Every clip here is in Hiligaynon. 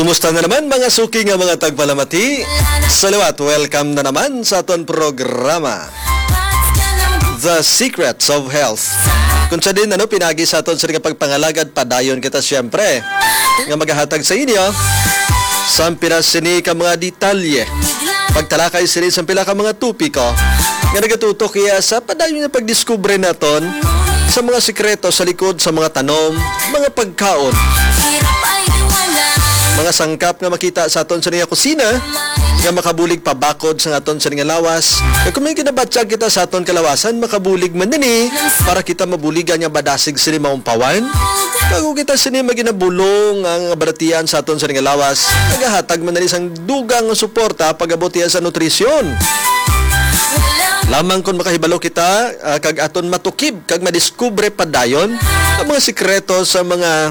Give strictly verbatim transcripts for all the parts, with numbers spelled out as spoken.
Kumusta na naman, mga suki nga mga tagpalamati? Sa liwat, welcome na naman sa aton programa, The Secrets of Health. Kung sa din, ano, pinagi sa aton sa nga pagpangalagad, padayon kita siyempre nga magahatag sa inyo sa pila sini ka mga detalye, pagtalakay sini sa pila ka mga topiko nga nagatutok iya sa padayon nga pagdiskubre naton sa mga sikreto sa likod sa mga tanom, mga pagkaon, mga sangkap nga makita sa aton sa nga kusina nga makabulig pabakod sa aton sa nga lawas. Kag kung may ginabatyag kita sa aton kalawasan, makabulig man nini para kita mabuligan nga madasig sini maumpawan. Kag kung kita sini maginabulong ang balatian sa aton sa nga lawas, nagahatag man nini sang dugang nga suporta pag-abot iya sa nutrisyon. Lamang kon makahibalo kita, ah, kag aton matukib kag madiskubre padayon ang mga sikreto sa mga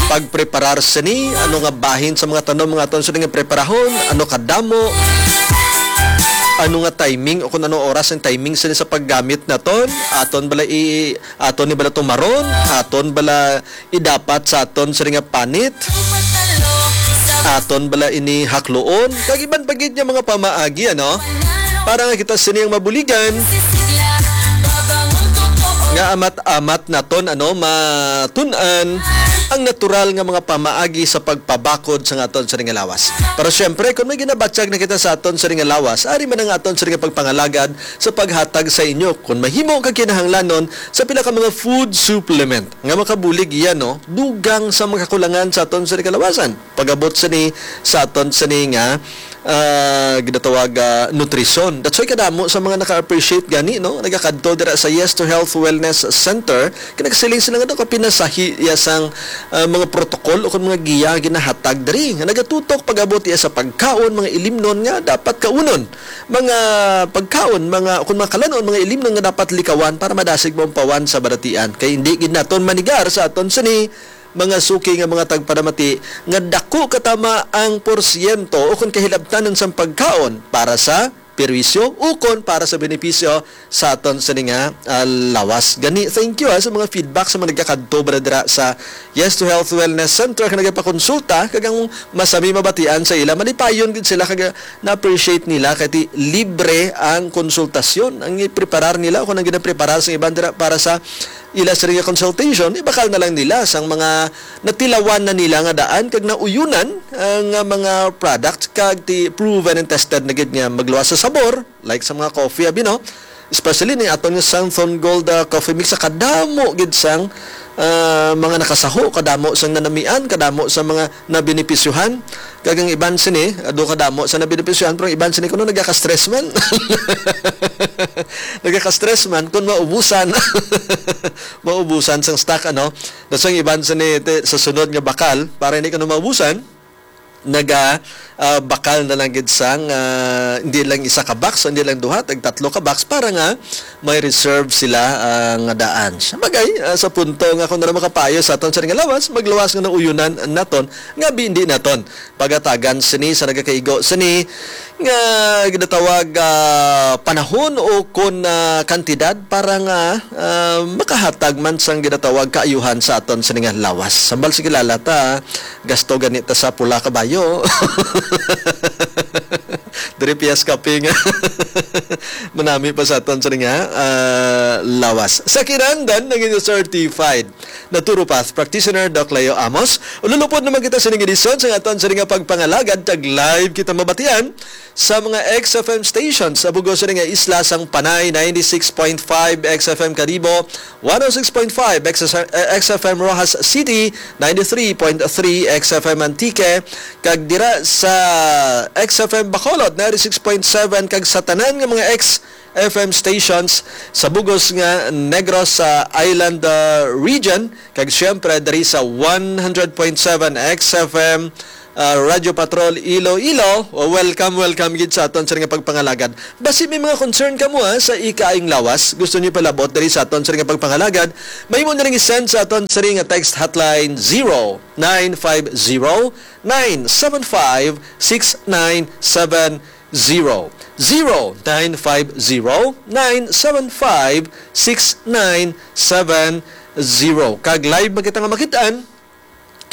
pagpreparar sini, ano nga bahin sa mga tanom nga aton sini nga preparahon, ano kadamo, ano nga timing o kung ano oras ang timing sini sa paggamit naton, aton bala i aton ni bala tumaron, aton bala idapat sa aton sini nga panit, aton bala ini hakluon, kag iban pa gid nga mga pamaagi, ano? Para nga kita sini ang mabuligan nga amat-amat naton, ano, matun-an ang natural nga mga pamaagi sa pagpabakod sa aton sini nga lawas. Pero siyempre, kung may ginabatyag na kita sa aton sini nga lawas, ari man ang aton sini nga pagpangalagad sa paghatag sa inyo, kung mahimo kag kinahanglanon, sa pila ka mga food supplement nga makabulig iya, no, dugang sa mga kakulangan sa aton sini kalawasan. Pag-abot sini sa aton sini nga, ah, ginatawag, ah, nutrisyon. That's why kadamo sa mga naka-appreciate gani, no, nagakadto dira sa Yes to Health Wellness Center, kay nagasiling sila nga daw kapinasahi iya sang, ah, mga protocol o kung mga giya ginahatag diri nga nagatutok pag-abot iya sa pagkaon, mga ilimnon nga dapat kaunon, mga pagkaon, mga, kung mga kalanon, mga ilimnon nga dapat likawan para madasig maumpawan sa balatian. Kay hindi gid naton manigar sa aton sini mga suki nga mga tagpanamati nga dako katama ang porsyento o kung kahilabtanan sang pagkaon para sa perwisyo ukon para sa benepisyo sa aton sini nga, ah, lawas. Gani, thank you, ah, sa mga feedback sa mga nagakadto ba dira sa Yes to Health Wellness Center nga nagapakonsulta, kag ang masami mabatian sa ila, malipayon gid sila kag na-appreciate nila kay ti libre ang konsultasyon. Ang ipreparar nila, kung ang ginapreparar sa iban dira para sa ila sini nga consultation, ibakal na lang nila sang mga natilawan na nila nga daan kag nauyunan, ah, nga mga product kag ti proven and tested na gid nga magluwas sa sabor, like sa mga coffee, abi, no? Especially ni aton nga Santhon Gold, ah, Coffee Mix, sa kadamo gid sang, ah, mga nakasaho, kadamo sang nanamian, kadamo sa mga nabenepisyohan. Kag ang iban sini, ah, do kadamo sa nabenepisyohan, pero ang iban sini kuno nagaka-stress man. Nagaka-stress man kung maubusan. Maubusan sang stock, ano? Tapos ang iban sini, te, sa sunod nga bakal, para hindi kuno maubusan, naga, ah, bakal na lang gid sang, ah, hindi lang isa ka box, hindi lang duha, tag tatlo ka box para nga may reserve sila, ah, nga daan. Siya bagay, ah, sa punto nga kung ano makapayo sa aton sa nga lawas, magluwas nga nauyonan naton, nga bi-, hindi naton pagatagan sini sa nagakaigo sini nga ginatawag, ah, panahon o kon, ah, kantidad para nga, ah, makahatag man sang ginatawag kaayuhan sa aton sini nga lawas. Sambal sa kilala ta, gasto gani ta sa pula kabayo. Diri piyas kaping manami pa sa aton sini nga, ah, lawas. Sa kinahanglan, naging certified naturopath practitioner, Doc Leo Amos. Ululupod naman kita sining edisyon sa aton sini nga pagpangalagad, kag live kita mabatian sa mga X F M stations sa bugos sini nga isla sang Panay, ninety-six point five X F M Kadibo, one oh six point five X F M, eh, X F M Roxas City, ninety-three point three X F M Antique, kag dira sa X F M Bacolod, ninety-six point seven, kag sa tanan nga mga X F M stations sa bugos nga Negros sa Island, ah, region, kag siyempre diri sa one hundred point seven X F M, ah, Radyo Patrol Iloilo. Welcome, welcome gid sa aton sa nga pagpangalagad. Basi may mga concern kamo, ha, sa ikaayong lawas, gusto niyo palabot diri sa aton sa nga pagpangalagad, mahimo na lang i-send sa aton sa nga text hotline, zero nine five zero, nine seven five, six nine seven zero, zero nine five zero, nine seven five, six nine seven zero. Kag live man kita nga makitaan,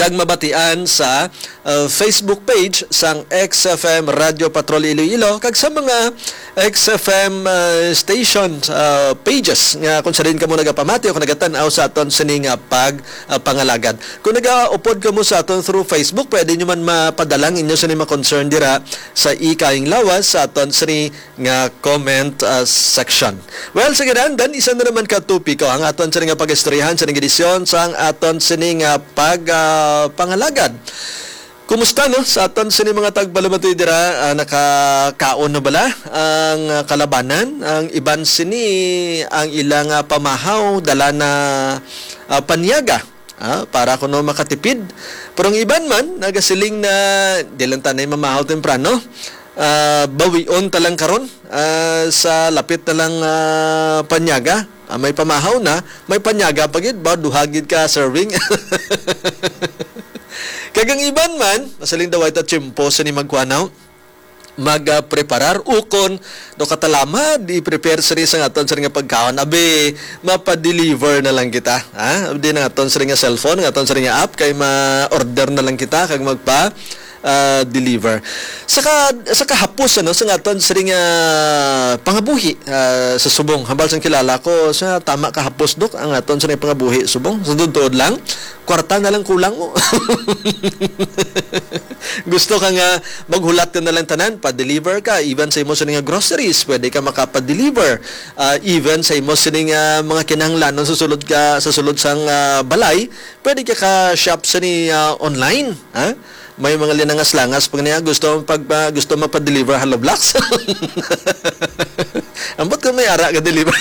kag mabatian sa, uh, Facebook page sang X F M Radio Patrol Iloilo, kag sa mga X F M, uh, station, uh, pages nga kung sa diin kamo nagapamati o kung nagatan-aw sa aton sini nga pag, uh, pangalagad. Kung nagaupod kamo sa aton through Facebook, pwede nyo man mapadala ang inyo sini mga concern dira sa Ika Ayong Lawas sa aton sini nga comment, uh, section. Well, sige, Dan, Dan, isa na naman ka topiko ang aton sini nga pag-istoryahan sa edisyon sang aton sini nga pag, uh, pangalagad. Kumusta, no? Sa aton sini mga tagpalamatoy dira, ah, nakakaon na bala ang, ah, kalabanan? Ang iban sini, ang ilang, ah, pamahaw dala na, ah, panyaga, ah, para kuno makatipid. Pero ang iban man nagasiling na di lang tanay mamahaw temprano. Ah, bawion ta lang karon, ah, sa lapit na lang, ah, panyaga. Ah, may pamahaw na, may panyaga pa gid ba? Duha gid ka serving. Kag ang iban man, masaling daw ay ta tiyempo sini magkuanaw, mag, ah, preparar ukon do katalamad i-prepare sini sa aton sini nga pagkaon. Abi, mapa-deliver na lang kita, ha? Abi na aton sini nga cellphone, nga aton sini nga app, kay ma-order na lang kita kag magpa, ah, deliver. Sa ka-, sa kahapos, ano, sa aton sini nga pangabuhi, ah, sa subong, hambal sang kilala ko, sa tama kahapos, Dok, ang aton sini pangabuhi subong, sa tuod lang, kwarta na lang kulang mo. Gusto ka nga maghulat ka na lang tanan, pa-deliver ka, even sa imo sini nga groceries, pwede ka makapa-deliver. Ah, even sa imo sini nga mga kinahanglanon sa sulod ka, sa sulod sang, ah, balay, pwede ka ka-shop sini, ah, online, ha? May mga linangas-langas pa niya, gusto pag, ah, gusto magpa-deliver Hollow Blocks. Ambot ka may ara ka deliver.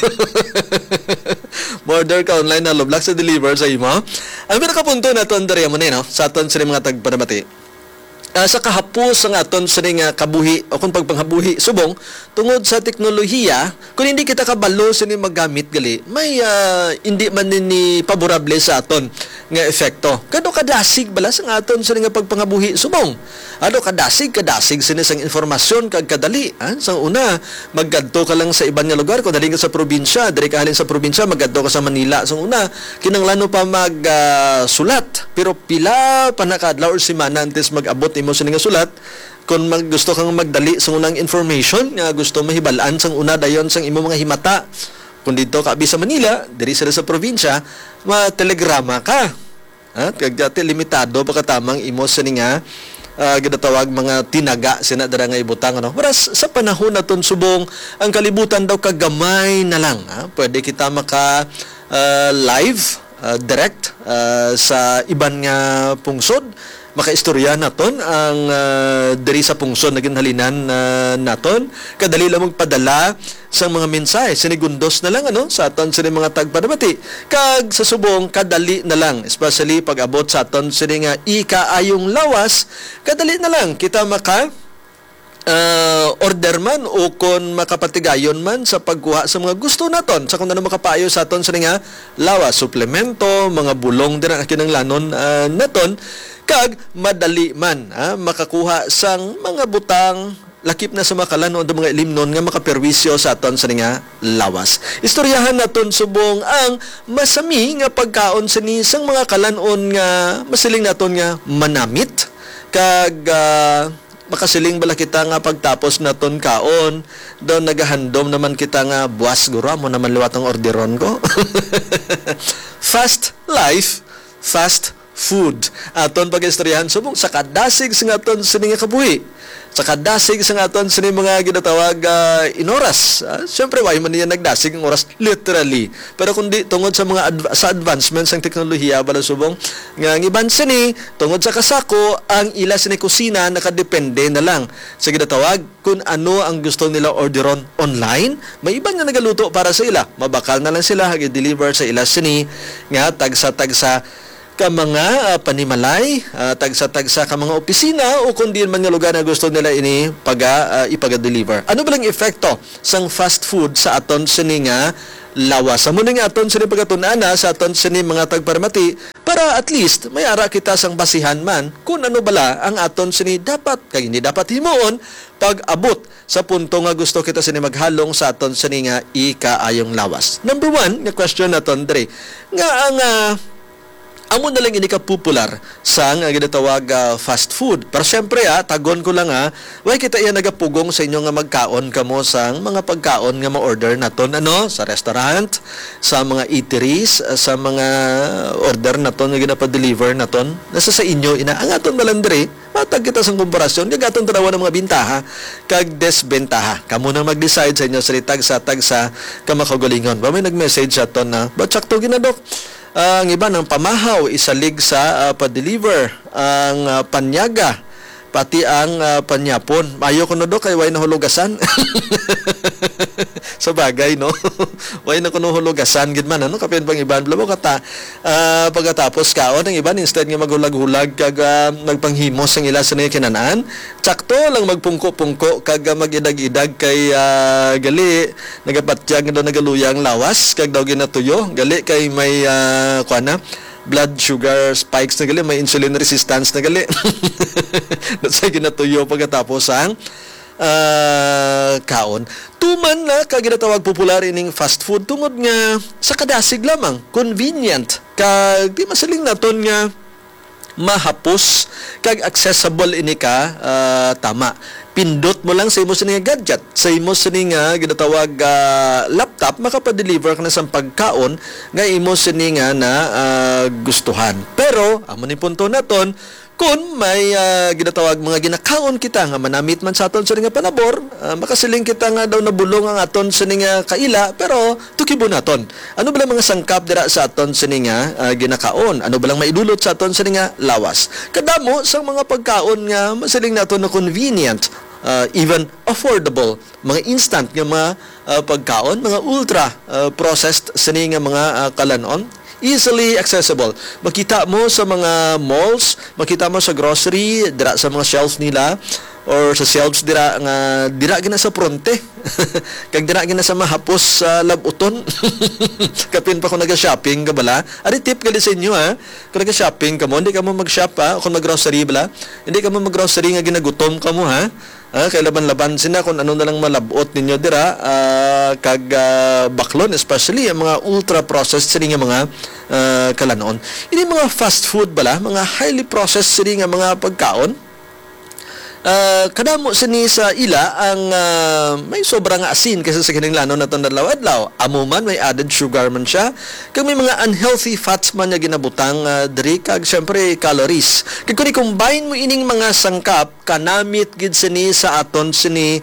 Order ka online, Hollow Blocks sa deliver sa imo. Ang pinakapunto naton diri mo ni, no, sa aton sini mga tagpanamati. Ah, sa kahapos sang aton sini nga kabuhi o kung pagpanghabuhi subong tungod sa teknolohiya, kung hindi kita kabalo sini magamit gali, may, ah, hindi man ni paborable sa aton nga epekto. Kano kadasig bala sang aton sini nga pagpanghabuhi subong? Ano kadasig, kadasig sini sang informasyon kag kadali, ha? Sang una, maggadto ka lang sa iban nga lugar, kung dali ka sa probinsya, diri ka halin sa probinsya, maggadto ka sa Manila. Sang una, kinahanglan mo pa mag, ah, sulat. Pero pila pa na ka adlaw or semana antes mag-abot imo sini nga sulat, kung mag-, gusto kang magdali sang unang information nga gusto mahibal-an sang una dayon sang imo mga himata, kung didto ka abi sa Manila, diri sila sa probinsya, ma-telegrama ka. Ha? Kag dati limitado pa katamang imo sini nga, ah, ginatawag mga tinaga sina dira nga ibutang, ano? Whereas sa panahon naton subong, ang kalibutan daw kagamay na lang, ha? Pwede kita maka, ah, live, ah, direct, ah, sa iban nga pungsod. Makaistorya naton ang, ah, diri sa pungsod na ginhalinan, ah, naton. Kadali lang magpadala sang mga mensahe. Sinigundos na lang, ano, sa aton sini mga tagpanamati. Kag sa subong, kadali na lang, especially pag-abot sa aton sini nga ikaayong lawas, kadali na lang kita maka, ah, order man o kon makapatigayon man sa pagkuha sa mga gusto naton, sa kung ano makapayo sa aton sini nga lawas, suplemento, mga bulong dira nga kinahanglanon, ah, naton, kag madali man, ah, makakuha sang mga butang lakip na sa mga kalan-on o mga ilimnon nga makaperwisyo sa aton sini nga lawas. Istoryahan naton subong ang masami nga pagkaon sini sang mga kalan-on nga masiling naton nga manamit, kag, ah, makasiling bala kita nga pagtapos naton kaon, daw nagahandom naman kita nga, "Buas guro, amo naman liwat ang orderon ko." Fast life, fast food. Aton pag-istoryahan subong sa kadasig sa aton sini nga kabuhi, sa kadasig sa aton sini mga ginatawag, ah, inoras. Ah, siyempre, why man niya nagdasig ang oras, literally. Pero kundi tungod sa mga adv-, sa advancement sang teknolohiya, bala subong, nga ang iban sini, tungod sa kasako, ang ila sini kusina nakadepende na lang sa ginatawag kung ano ang gusto nila orderon online. May iban nga nagaluto para sa ila. Mabakal na lang sila, hag i-deliver sa ila sini nga tagsa-tagsa ka mga, ah, panimalay, ah, tagsa-tagsa ka mga opisina, o kung diin man nga lugar nga gusto nila ini paga-, ah, ipaga-deliver. Ano ba ang epekto sang fast food sa aton sini nga lawas? Amo ning aton sini pagatun-ana sa aton sini mga tagparamati para at least may ara kita sang basihan man kung ano bala ang aton sini dapat kag hindi dapat himuon pag-abot sa punto nga gusto kita sini maghalong sa aton sini nga ikaayong lawas. Number one nga question naton diri, nga ang, ah, Amo na lang ini ka popular sang, ah, ginatawag, ah, fast food. Pero syempre, ah, tagon ko lang, ah, way kita iya nagapugong sa inyo nga magkaon kamo sang mga pagkaon nga ma-order naton, ano, sa restaurant, sa mga eateries, ah, sa mga order naton nga ginapa-deliver naton. Nasa sa inyo ina. Ang aton na lang diri, matag kita sang komparasyon, kag aton tanawan ang mga bintaha kag desbentaha. Kamo na mag-decide sa inyo, sila tagsa-tagsa ka makaugalingon. Ba may nag-message sa aton na, "Ba, sakto gina, Doc? Ah, ang iban, ang pamahaw, isalig sa, ah, pa-deliver, ang, ah, panyaga, pati ang, ah, panyapon." Mayo kuno, Dok, kay way nahulugasan. Sa bagay, no? Way na kuno hulugasan gid man, ano? Kapin pang iban, bala mo kata, ah, pagkatapos kaon, ang iban, instead nga maghulag-hulag kag, ah, nagpanghimo sang ila sa nila kinan-an, sakto lang magpungko-pungko kag, ah, mag-idag-idag kay, ah, gali, nagapatyag nga daw nagaluya ang lawas kag daw ginatuyo. Gali kay may, ah, kuan na, blood sugar spikes na gali, may insulin resistance na gali. Sa ginatuyo pagkatapos ang, ah, kaon. Tuman na ka ginatawag popular ining fast food tungod nga sa kadasig lamang, convenient, kag di masiling naton nga mahapos kag accessible ini ka, ah, tama. Pindot mo lang sa imo sini nga gadget, sa imo sini nga ginatawag, ah, laptop, makapa-deliver ka na sang pagkaon nga imo sini nga na, ah, gustuhan. Pero amo ni punto naton, kun may, ah, ginatawag mga ginakaon kita nga manamit man sa aton sini nga panabor, ah, makasiling kita nga daw nabulong ang aton sini nga kaila, pero tukibo naton. Ano ba lang mga sangkap dira sa aton sini nga, ah, ginakaon? Ano ba lang maidulot sa aton sini nga lawas? Kadamo sang mga pagkaon nga masiling naton na convenient, ah, even affordable, mga instant nga mga, ah, pagkaon, mga ultra, ah, processed sini nga mga, ah, kalan-on, easily accessible. Makita mo sa mga malls, makita mo sa grocery, dira sa mga shelf nila, or sa shelves dira nga dira gina sa pronte. Kag dira gina sa mahapos sa labuton. Kapin pa kung naga-shopping ka bala. Ari tip gali sa inyo, ha. Kung naga-shopping ka mo, hindi ka mo mag-shop, ha. Kung mag-grocery bala, hindi ka mo mag-grocery nga ginagutom ka mo, ha. Ah, kay laban-laban sina kung ano na lang malabot ninyo dira, ah, kag, ah, baklon, especially ang mga ultra-processed sini nga mga, ah, kalanon. Ini mga fast food bala, mga highly processed sini nga mga pagkaon, ah, kadamo sini sa ila ang, ah, may sobra nga asin kaysa sa kinahanglanon naton adlaw-adlaw. Amo man, may added sugar man siya, kag may mga unhealthy fats man nga ginabutang, ah, diri, kag syempre calories. Kag kung i-combine mo ining mga sangkap, kanamit gid sini sa aton sini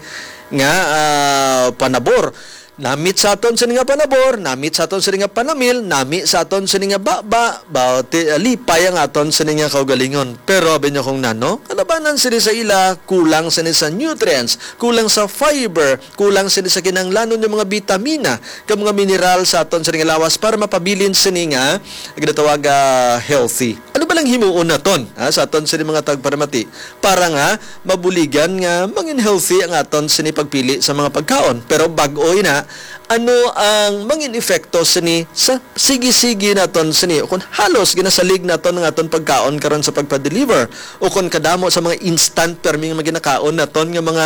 nga, ah, panabor. Namit sa aton sini nga panabor, namit sa aton sini nga panamil, nami sa aton sini nga baba, ba, ti-, lipay ang aton sini nga kaugalingon. Pero abi nyo kung nano, kalabanan sini sa ila, kulang sini sa nutrients, kulang sa fiber, kulang sini sa kinahanglanon nga mga bitamina, kag mga mineral sa aton sini nga lawas para mapabilin sini nga ginatawag, ah, healthy. Ano ba lang himuon naton, ha, sa aton sini mga tagparamati para nga mabuligan nga mangin healthy ang aton sini pagpili sa mga pagkaon? Pero bag-o ina, ano ang mangin epekto sini sa sige-sige naton sini, o kung halos ginasalig naton ang aton pagkaon karon sa pagpa-deliver, o kung kadamo sa mga instant permi nga maginakaon naton nga mga,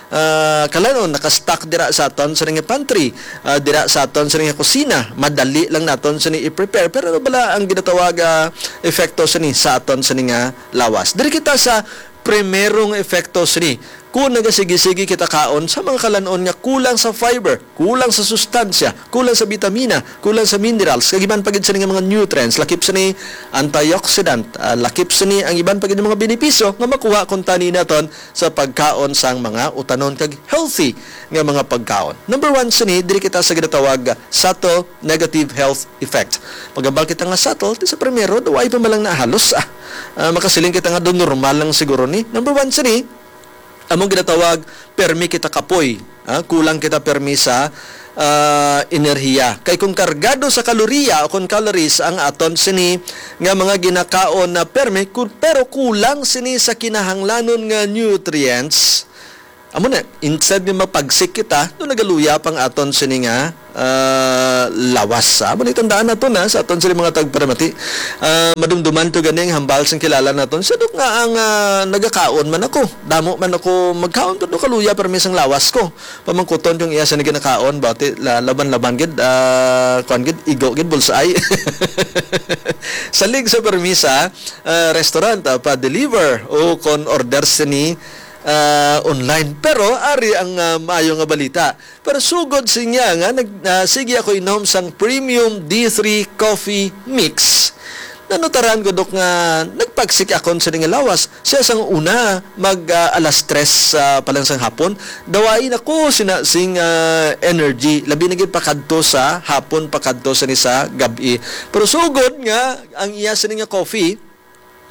ah, kalanon naka-stock dira sa aton sini nga pantry, ah, dira sa aton sini nga kusina, madali lang naton sini i-prepare. Pero ano bala ang ginatawag, ah, epekto sini sa aton sini nga lawas? Diri kita sa primerong epekto sini. Kung nagasigi-sigi kita kaon sa mga kalanon nga kulang sa fiber, kulang sa sustansya, kulang sa bitamina, kulang sa minerals, kag iban pa gid sini nga mga nutrients, lakip sini antioxidant, ah, lakip sini ang iban pa gid mga benepisyo nga makuha kung tani naton sa pagkaon sang mga utanon kag healthy nga mga pagkaon. Number one sini, diri kita sa ginatawag subtle negative health effect. Maghambal kita nga subtle, ti sa primero, daw ay pa man lang na halos, ah. Ah, makasiling kita nga do normal lang siguro ni. Number one sini, among ginatawag, permi kita kapoy. Ah, kulang kita permi sa, ah, enerhiya. Kay kung kargado sa kaloriya o kung calories ang aton sini nga mga ginakaon na permi, ku-, pero kulang sini sa kinahanglanon nga nutrients, Amo na, instead nga mapagsik kita, no, nagaluya pang aton sini nga, ah, lawas. Amo ni tandaan nato na sa aton sini mga tagparamati. Ah, madumduman to gani ang hambal sang kilala naton. Siya dok nga ang, ah, nagakaon man ako. Damo man ako magkaon, pero kaluya permi sang lawas ko. Pamangkuton yung iya sa ginakaon, bati, la-, laban-laban gid, ah, kuan gid, igo gid, bulsay. Salig sa permisa, ah, restaurant, ah, pa-deliver o kon order sini, ah, online. Pero ari ang, ah, maayo nga balita. Pero sugod siya nga nag-, ah, sige ako inom sang Premium D three Coffee Mix. Nanutaran ko, Dok, nga nagpagsik akon sa nga lawas. Siya sang una, mag, ah, alas tres, ah, pa lang sang hapon. Dawai na ko sina sing, ah, energy. Labi na gid pakadto sa hapon, pakadto sa ni sa gab-i. Pero sugod nga, ang iya sini nga coffee,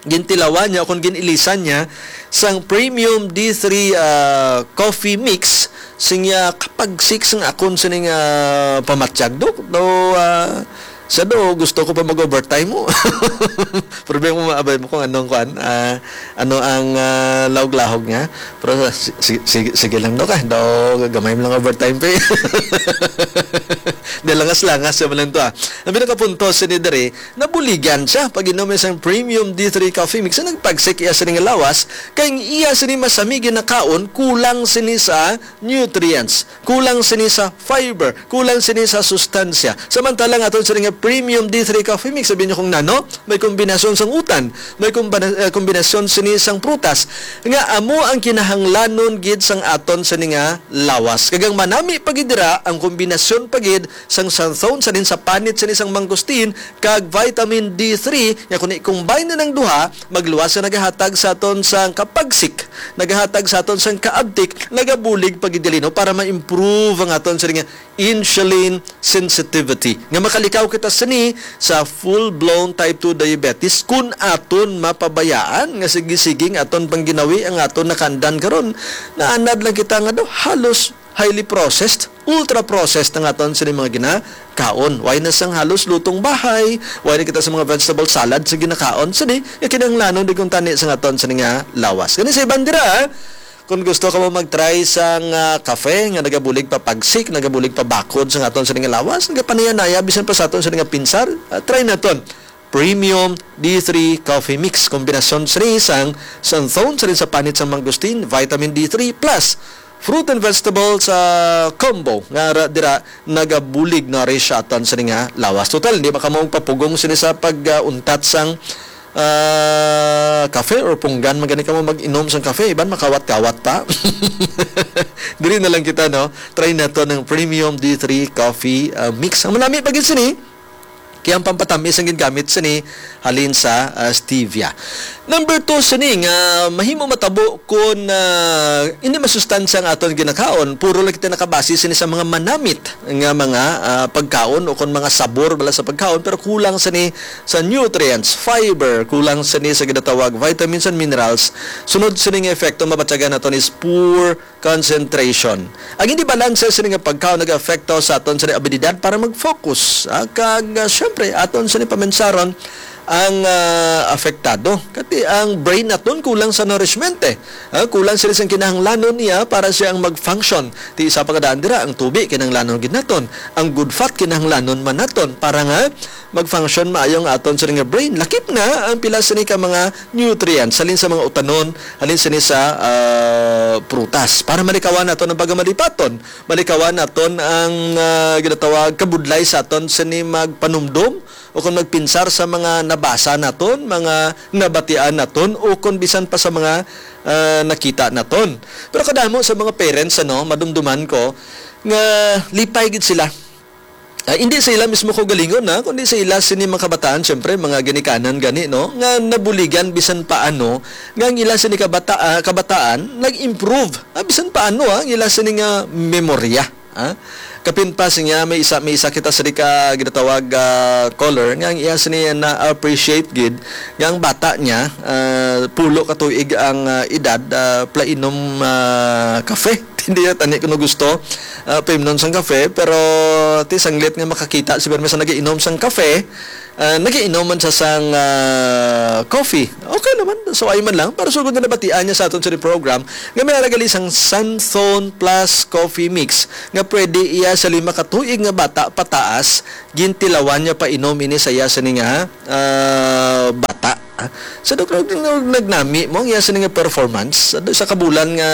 gintilawan niya, o kung gin-ilisan niya, sang Premium D three, ah, Coffee Mix, sing iya kapagsik sang akon sining, ah, pamatyag, Dok. Daw, ah, siya daw, gusto ko pa mag-overtime mo. Problema mo, maabay mo kung anong kuan, ah, ano ang, ah, lahog-lahog niya. Pero si-, si-, sige, sige lang, Dok, ah. Daw, gamay mo lang overtime pay. Di langas-langas siya man lang to, ah. Ang pinakapunto, sini diri, nabuligan siya pag inom sang Premium D three Coffee Mix. Ang nagpagsik iya sini nga lawas, kay ang iya sini masami ginakaon, kulang sini sa nutrients, kulang sini sa fiber, kulang sini sa sustansya. Samantala ang aton sini nga Premium D three Coffee Mix, sabi niyo kung nano, may kombinasyon sang utan, may kombina-, eh, kombinasyon sini sang prutas, nga amo ang kinahanglanon gid sang aton sini nga lawas. Kag ang manami pa gid dira, ang kombinasyon pa gid sang xanthone, sa din sa panit sini sang mangosteen, kag vitamin D three, nga kung i-combine na ng duha, magluwas sa nagahatag sa aton sang kapagsik, nagahatag sa aton sang kaabtik, nagabulig pagidilino para ma-improve ang aton sini nga insulin sensitivity. Nga makalikaw kita sini sa full-blown type two diabetes kung aton mapabayaan nga sige-sige nga aton pangginawi ang aton nakaandan karon. Naanad lang kita nga daw halos highly processed, ultra-processed ang aton sini mga ginakaon. Why na sang halos lutong bahay? Why na kita sa mga vegetable salad sa ginakaon? Sini, nga kinahanglanon di kung tani sa aton sini nga lawas. Gani sa iban dira, kung gusto ka mo mag-try sang, ah, kafe nga nagabulig pa pagsik, nagabulig pa bakod sa aton sini nga lawas, nagapanaya-naya, bisan pa sa aton sini nga pinsar, ah, try naton. Premium D three Coffee Mix. Kombinasyon sini sang xanthone, sa din sa panit sang mangosteen, vitamin D three plus fruit and vegetable sa combo nga ra-, dira nagabulig na rin siya atan sini nga lawas. Total, hindi ba kamo magpapugong sini sa pag, ah, untat sang, ah, kafe or punggan? Magani kamo mag-inom sang kafe, iban makawat-kawat pa. Diri na lang kita, no? Try nato ng Premium D three Coffee, ah, Mix. Ang manami pa gid sini, kaya ang pampatamis ang gingamit sini halin sa, ah, stevia. Number two sini nga mahimo matabo kun, ah, hindi masustansya ang aton ginakaon, puro lang kita nakabase sini sa mga manamit nga mga, ah, pagkaon o kun mga sabor bala sa pagkaon, pero kulang sini sa nutrients, fiber, kulang sini sa ginatawag vitamins and minerals. Sunod sini nga epekto mabatyagan naton is poor concentration. Ang hindi balanse sini nga pagkaon nag-apekto sa aton sini abilidad para mag-focus, ah, kag, ah, syempre, aton sini paminsaron ang, ah, apektado. Kati ang brain naton kulang sa nourishment, eh. Ah, kulang sini sang kinahanglanon niya para siya ang mag-function. Ti isa pa kadaan dira, ang tubi kinahanglanon gid naton, ang good fat kinahanglanon man naton para nga mag-function maayo ang aton sini nga brain. Lakip na ang pila sini ka mga nutrients halin sa mga utanon, halin sini sa, ah, prutas. Para malikawan naton ang pagkamalipaton, malikawan naton ang, ah, ginatawag kabudlay sa aton sini magpanumdom o kung magpinsar sa mga nabasa naton, mga nabatian naton, o kung bisan pa sa mga, ah, nakita naton. Pero kadamo sa mga parents, ano, madumduman ko nga lipay gid sila. Ah, hindi sa ila mismo kaugalingon, ha, kundi sa ila sini mga kabataan, syempre, mga ginikanan gani, no, nga nabuligan bisan paano nga ang ila sini kabata-, ah, kabataan nag-improve, ah, bisan paano, ha, ang ila sini nga memorya, ha. Kapin pa siya, may isa, may isa kita sa di ka ginatawag, ah, caller nga ang iya sini na-appreciate gid nga ang bata niya, ah, pulo ka tuig ang, ah, edad, ah, plainom, ah, kafe. Hindi na tani kuno gusto, ah, paimnon sang kafe, pero ti sanglit nga makakita si Bermes nga nagainom sang kafe, Ah, nagiinom man sa sang, ah, coffee. Okay naman, so ay man lang. Pero sugod na nabatian niya sa aton sa program, nga may ara gali sang Santhon Plus Coffee Mix, nga pwede iya sa lima ka tuig nga bata pataas, gintilawan niya pa inom ini sa iya sini nga, ah, bata. Sa doktor, nag-, nagnami mo ang iya sini nga performance. Sa, sa kabulan nga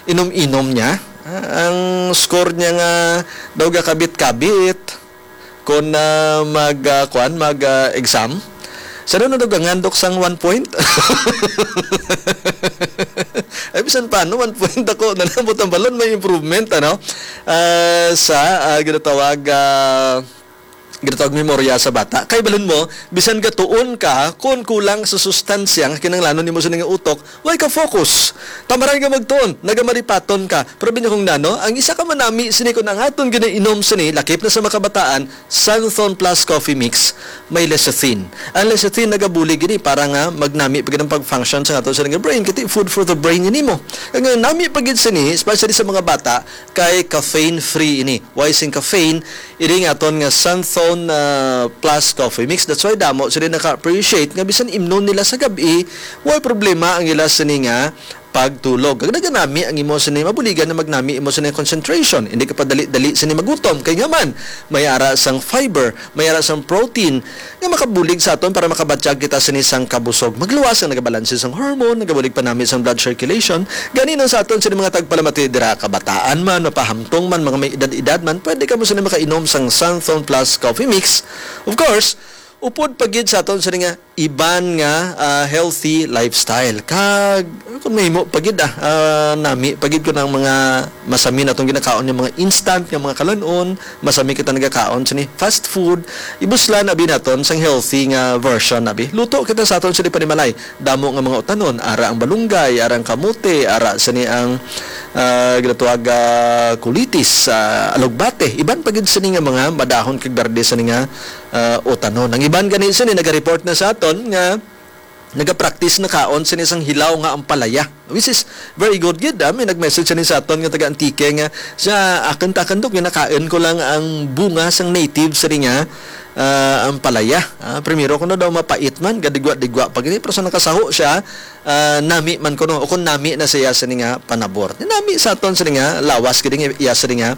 inom-inom niya, ah, ang score niya nga daw gakabit-kabit. Kung, ah, mag, ah, kuan, mag, ah, exam, sa na nadugangandok sang one point? Ay, bisan paano, one point ako, nanabot ang balon, may improvement, ano? Ah, sa, ah, ginatawag, ah, ginatawag memorya sa bata. Kay balon mo, bisan gatuon ka, kung kulang sa sustansya nga kinahanglanon nimo sa ning utok, way ka focus. Tamaray nga magtuon, nagamaripaton ka. Pero binya kung nano, ang isa ka manami sini kung ang aton ginainom sini, lakip na sa makabataan, Santhon Plus Coffee Mix, may lecithin. Ang lecithin nagabulig gini para nga magnami pa gid ang pag-function sa ato sa nga brain, kay food for the brain ini mo. Ang nami pa gid sini, especially sa mga bata, kay caffeine free ini. Why sing caffeine? Ini nga aton nga Santhon, ah, Plus Coffee Mix. That's why damo sila naka-appreciate nga bisan imnon nila sa gabi, way problema ang ila sini nga pagtulog. Kag naganami ang imo sini, mabuligan na magnami imo sini concentration. Hindi ka pa dali-dali sini magutom. Kay nga man, may ara sang fiber, may ara sang protein, nga makabulig sa aton para makabatyag kita sini sang kabusog. Magluwas ang nagabalanse sang hormone, nagabulig pa nami sang blood circulation. Gani nang sa aton sini mga tagpalamati dira, kabataan man, mapahamtong man, mga may edad-edad man, pwede kamo sini makainom sang Santhon Plus Coffee Mix. Of course, upod pa gid sa aton sini nga iban nga, ah, healthy lifestyle. Kag kung mahimo pa gid, ah, ah, nami pa gid ko ng mga masami natong ginakaon, yung mga instant nga mga kalan-on, masami kita nagakaon sini fast food, ibuslan abi naton sang healthy nga version abi. Luto kita sa aton sini panimalay. Damo nga mga utanon, ara ang balunggay, ara ang kamote, ara sini ang, ah, ginatawag, ah, kulitis, ah, alugbate. Iban pa gid sini nga mga madahon kag berde sini nga, ah, utanon. Ang iban gani sini naga-report na sa aton nga nagapractice na kaon sini sang hilaw nga ampalaya, which is very good gid, ah. May nag-message sini sa aton nga taga Antique nga sa akin, takan, Dok, ginakaon ko lang ang bunga sang native sini nga, ah, ampalaya. Ah, primero ko na daw mapait man, gadigwa-digwa pa gini, pero sa nakasaho siya, ah, nami man kuno, o kung nami na siya sini nga panabor. Nami sa aton sini nga lawas gid nga iya sini nga,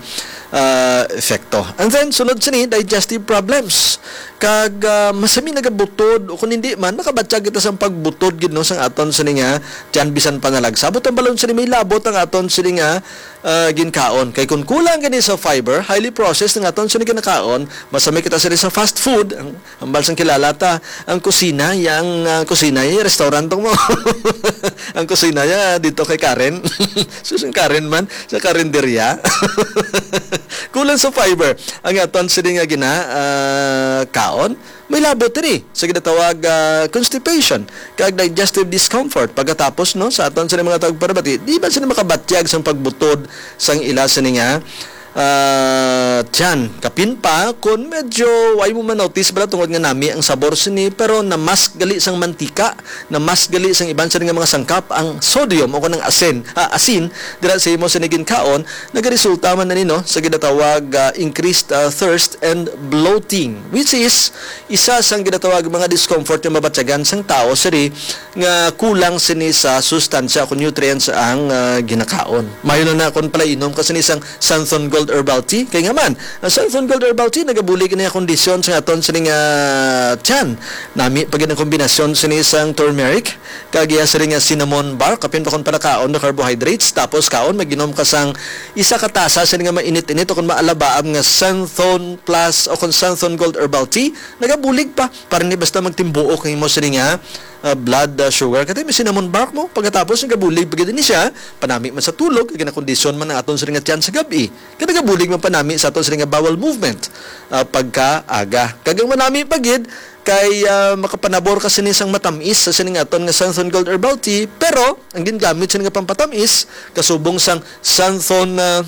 ah, epekto. And then, sunod sini, digestive problems. Kag, ah, masami nagabutod, o kung hindi man, makabatyag kita sang pagbutod gid, no, sang aton sini nga tiyan bisan pa nalagsa. Buot ang balon sini may labot ang aton sini nga, ah, ginkaon. Kay kung kulang gani sa fiber, highly processed ang aton sini ginakaon, masami kita sini sa fast food, ang, ang balsang kilala ta, ang kusina, yang, ah, kusina, yung restaurant mo. Ang kusina, ya, dito kay Karen. Sus, ang Karen man, sa karinderya. Kulang sa fiber ang aton sini nga gina, ah, kaon. May labot diri sa ginatawag, ah, constipation kag digestive discomfort pagkatapos, no, sa aton sini mga tagpalamati, di ba sila makabatyag sang pagbutod sang ila sini nga, ah, tiyan? Kapin pa, kung medyo way mo man notice bala tungod nga nami ang sabor sini, pero namask gali sang mantika, namask gali sang iban sini nga mga sangkap ang sodium o kanang asin, ah, asin dira sa imo sini ginkaon, nagaresulta man na nino sa ginatawag, ah, increased, ah, thirst and bloating, which is isa sang ginatawag mga discomfort nga mabatyagan sang tawo siri nga kulang sini sa sustansya o nutrients ang, ah, ginakaon. Mayo na na kon pala inom ka sini sang Santhon Gold Herbal Tea. Kay nga man, ang Santhon Gold Herbal Tea nagabulig na kondisyon sa aton sini nga tiyan. Nami pa gid ang kombinasyon sini sang turmeric kag iya sini nga cinnamon bark, kapin pa kon pala kaon na carbohydrates, tapos kaon, maginom ka sang isa ka tasa sini nga mainit-init o kon maalabaab nga Santhon Plus o kon Santhon Gold Herbal Tea, nagabulig pa. Para ni basta magtimbuok ang imo sini nga, ah, blood, ah, sugar. Katay may cinnamon bark mo, pagkatapos nagabulig pa gid ni siya, panami man sa tulog, kag ginakondisyon man ang aton sini nga tiyan sa gabi. Kay nagabulig man panami sa aton sini nga bowel movement, ah, pagkaaga. Kag ang manami pa gid, kay, ah, makapanabor ka sini sang matamis sa sini nga aton nga Santhon Gold Herbal Tea, pero ang gingamit sini nga pampatamis kasubong sang Santhon, ah,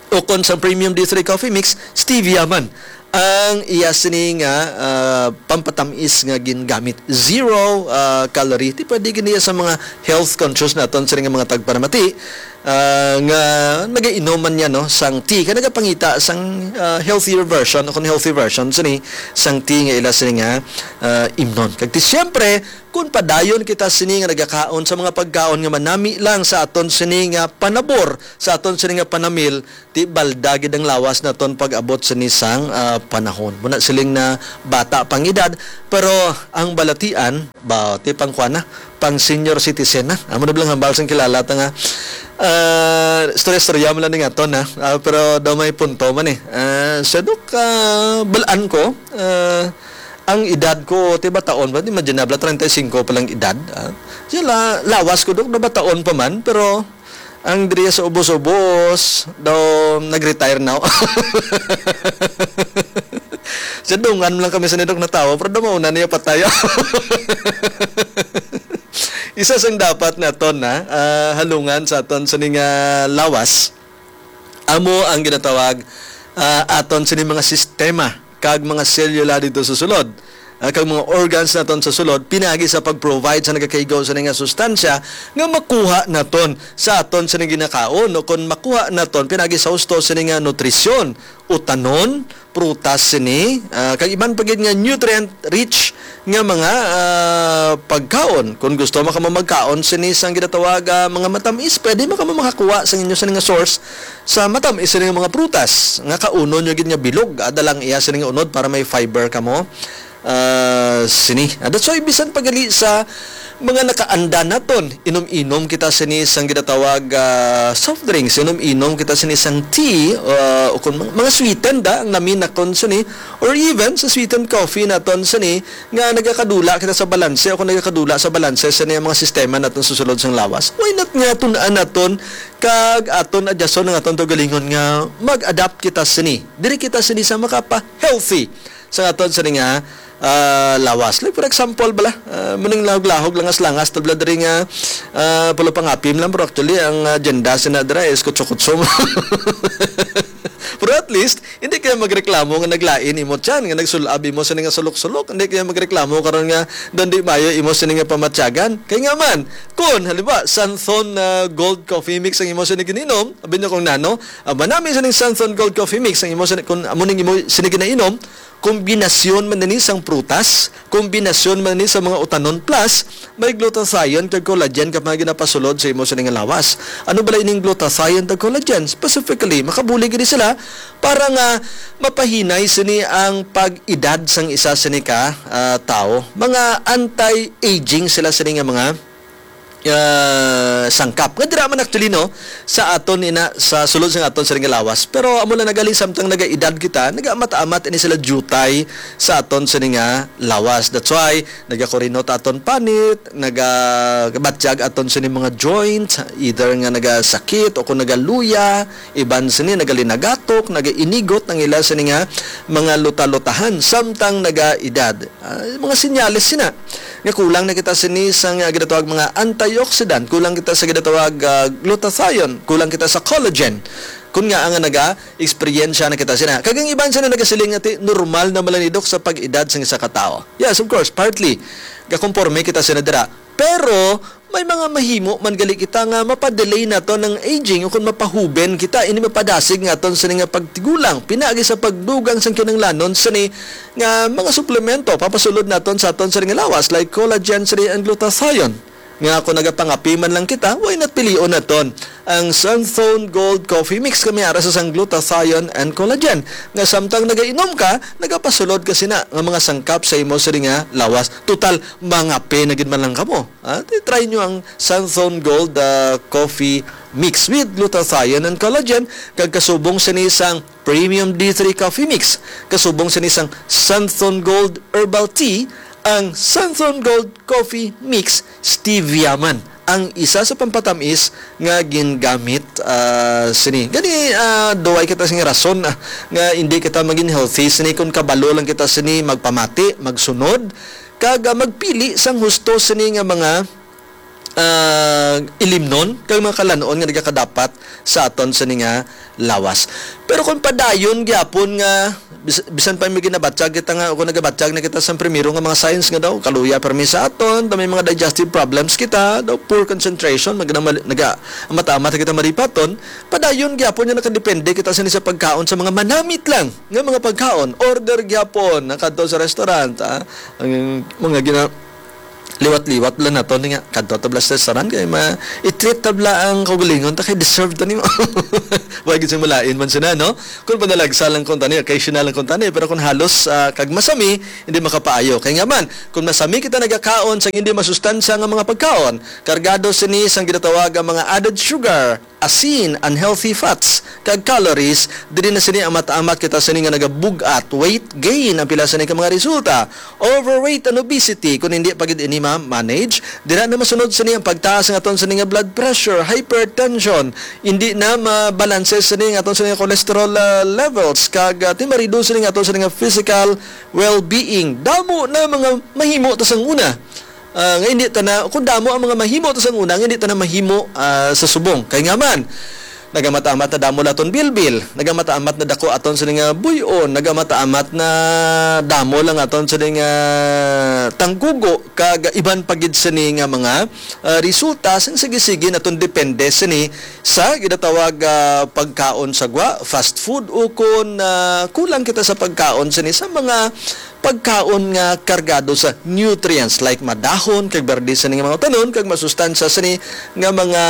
o kon sang Premium D three Coffee Mix, stevia man ang iya sini nga, ah, pampatamis nga gingamit. Zero, ah, calorie. Ti pwede gid niya sa mga health conscious naton sini nga mga tagpanamati, ah, nga nagainom man niya, no, sang tea. Kay nagapangita sang, ah, healthier version o kung healthy version sini sang tea nga ila sini nga, ah, imnon. Kag ti siyempre, kung padayon kita sini nga nagakaon sa mga pagkaon nga manami lang sa aton sini nga panabor, sa aton sini nga panamil, ti balda gid ang lawas naton pag-abot sini sang, ah, panahon. Muna siling na bata pang edad, pero ang balatian, ba, ti pang kuan na, pang senior citizen na. Amo na bala ang hambal sang kilala ta nga, ah, istorya-istorya mo lang ni nga to na. Ah, pero daw may punto man eh. Ah, siya, Dok, ah, balaan ko, ah, ang edad ko, ti bataon ba? Imagine na, bala, treinta y cinco pa lang edad. Ah. Sila, lawas ko, Dok, na bataon pa man, pero ang diri sa ubos-ubos, daw nag-retire na. Sa dungan lang kami sa nidok natawa, pero daw mauna niya patay. Isa sang dapat naton na, ah, halungan sa aton sa ning, ah, lawas, amo ang ginatawag, ah, aton sini mga sistema kag mga selula dito sa sulod, ah, kag mga organs naton sa sulod, pinagi sa pag-provide sa nagakaigo sa nga sustansya nga makuha naton sa aton sa ginakaon, o kon makuha naton pinagi sa husto sa nga nutrisyon, utanon, prutas sini, ah, kag iban pa gid nga nutrient rich nga mga, ah, pagkaon. Kung gusto mo kamo magkaon sini sang ginatawag, ah, mga matamis, pwede mo kamo makakuha sa inyo sini nga source sa matamis sini nga mga prutas nga kaunon nyo gid nga bilog. Ada lang iya sini nga unod para may fiber kamo. Ah, sini. Ah, that's why bisan pagali sa mga nakaanda naton, inom-inom kita sini sang ginatawag, ah, soft drinks, inom-inom kita sini sang tea, ah, o kung mga, mga sweetened, ah, ang namin nakon sini, or even sa sweetened coffee naton sini, nga nagakadula kita sa balanse o kung nagakadula sa balanse sa niya mga sistema naton sa sulod sang lawas. Why not nga tun-an naton kag aton adyason ang aton kaugalingon nga mag-adapt kita sini. Diri kita sini sa makapa-healthy sa aton sini nga, ah, lawas. Like for example bala, ah, muning lahog-lahog, langas-langas, tabla diri nga, ah, pula pangapim lang, pero actually ang, ah, agenda sina dira is kutso-kutso. Pero at least, hindi kayo magreklamo nga naglain imo tiyan, nga nagsulab imo sini nga sulok-sulok. Hindi kayo magreklamo karon nga doon di mayo imo sini nga pamatyagan. Kay nga man, kun halimbawa, Santhon, ah, Gold Coffee Mix ang imo sini gininom, abi niyo kung nano, ah, manami sining Santhon Gold Coffee Mix ang imo sini, kun amo ning imo sini ginainom, kombinasyon man ni sang prutas, kombinasyon man ni sa mga utanon, plus may glutathione kag collagen ka mga ginapasulod sa imo sini nga lawas. Ano bala ining glutathione kag collagen? Specifically, makabulig gid sila para nga mapahinay sini ang pag-edad sang isa sini ka, ah, tawo. Mga anti-aging sila sini nga mga, ah, sangkap. Nga dira man actually, no, sa aton ina, sa sulod sa aton sini nga lawas. Pero amo lang nagali, samtang nagaedad kita, nagaamat-amat ini sila jutay sa aton sini nga lawas. That's why nagakurinot aton panit, nagabatyag aton sini mga joints, either nga nagasakit o kung nagaluya, iban sini nagalinagatok, nagainigot ang ila sini nga mga luta-lutahan samtang nagaedad. Ah, mga senyales sina nga kulang na kita sini sa nga ginatawag mga antioxidant, kulang kita sa ginatawag, ah, glutathione, kulang kita sa collagen. Kun nga nga naga-eksperyensya na kita sina. Kag ang iban sina nagasiling nga ti normal na malanidok sa pag-edad sang isa ka tawo. Yes, of course, partly. Gakonporme kita sina dira. Pero may mga mahimo man gali kita nga mapadelay naton ang aging o kung mapahuben kita, ini mapadasig nga aton sini nga pagtigulang, pinaagi sa pagdugang sang kinahanglanon sini nga mga suplemento papasulod naton sa aton sini nga lawas, like collagen sini and glutathione. Nga kung nagapangapi man lang kita, why not pilion naton ang Santhon Gold Coffee Mix, kami ara sa sang glutathione and collagen, nga samtang nagainom ka, nagapasulod ka sina nga mga sangkap sa imo sini nga lawas. Total, mangape na gid man lang kamo. Ah, ti-try nyo ang Santhon Gold, ah, Coffee Mix with glutathione and collagen, kag kasubong sini sang Premium D three Coffee Mix, kasubong sini sang Santhon Gold Herbal Tea, ang Santhon Gold Coffee Mix Stevia man ang isa sa pampatamis nga gingamit, ah, sini. Gani, ah, duway kita sini rason, ah, nga hindi kita maging healthy sini kung kabalo lang kita sini magpamati, magsunod, kag, ah, magpili sang husto sini nga mga, ah, ilimnon kag mga kalan-on nga nagakadapat sa aton sini nga lawas. Pero kung padayon gyapon nga bis-, bisan pa may ginabatyag kita nga, kung nagabatyag na kita sa primero nga mga signs nga daw kaluya permi sa aton, daw may mga digestive problems kita, daw poor concentration, magna-, naga-, mata-mata kita maripaton, padayon gyapon nga nakadepende kita sini sa pagkaon sa mga manamit lang nga mga pagkaon. Order gyapon na kadto sa restaurant, ah. Ang mga gina-, liwat-liwat lang nato ni nga, kadto ta bala sa restaurant kay ma-, i-treat ta bala ang kaugalingon ta kay deserve ta nimo. Wa gyud sing malain man sina, no? Kung panalagsa lang kung tani, occasional lang kung tani, pero kung halos, ah, kag masami, hindi makapaayo. Kay nga man, kung masami kita nagakaon sang hindi masustansya nga mga pagkaon, kargado sini sang ginatawag nga mga added sugar, asin, unhealthy fats, kag calories, diri na sini ang mata-amat kita sini nga nagabug-at, weight gain ang pila sini ka mga resulta. Overweight and obesity, kung hindi pa gid ini ma-manage, dira na masunod sini ang pagtaas ng aton sini nga blood pressure, hypertension, hindi na mabalanse sini ang aton sini nga cholesterol, ah, levels, kag, ah, ti ma-reduce sini ang aton sini nga physical well-being. Damo na mga mahimo ta sang una. Ah, nga hindi ta na, kung damo ang mga mahimo ta sang una, nga hindi ta na mahimo, ah, sa subong. Kay nga man, nagamatamat na damo lang aton bilbil, nagamatamat na dako aton sini nga buy-on, nagamatamat na damo lang aton sini nga tanggugo, kag iban pa gid sini nga mga, ah, resulta sing sige-sige naton depende sini sa ginatawag, ah, pagkaon sa gwa, fast food, ukon, ah, kulang kita sa pagkaon sini sa mga pagkaon nga kargado sa nutrients, like madahon kag berde sini nga mga utanon kag masustansya sini nga mga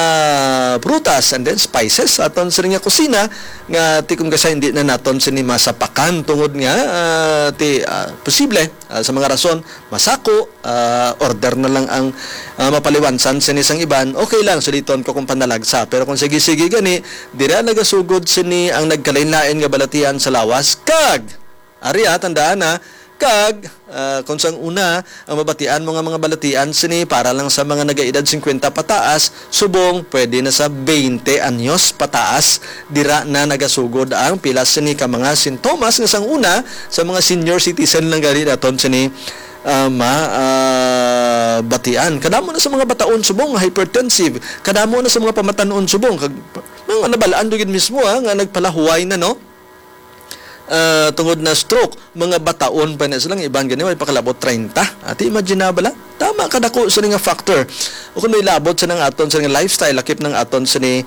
prutas, and then spices sa aton sini nga kusina nga ti kung kasa hindi na naton sini masapakan tungod nga, ah, ti, ah, posible, ah, sa mga rason masako, ah, order na lang ang, ah, mapaliwansan sini sang iban, okay lang, suliton ko kung panalagsa. Pero kung sige-sige gani, dira nagasugod sini ang nagkalain-lain nga balatian sa lawas kag Ari, ah, tandaan, ah, kag, ah, kung sang una, ang mabatian mo nga mga balatian sini para lang sa mga nagaedad singkwenta pataas, subong pwede na sa baynte anyos pataas, dira na nagasugod ang pila sini ka mga sintomas nga sang una sa mga senior citizen lang gani naton sini, ah, ma-, ah, batian. Kadamo na sa mga bataon subong nga hypertensive, kadamo na sa mga pamatan-on subong, kag mga nabalaan do gid mismo, ah, nga nagpalahuway na, no? Ah, tungod na stroke, mga bataon pa na sila, nga iban gani way pakalabot treinta. Ati, imagine na bala? Tama kadako sini nga factor. O kung may labot sa nang aton sa nga lifestyle, lakip nang aton sini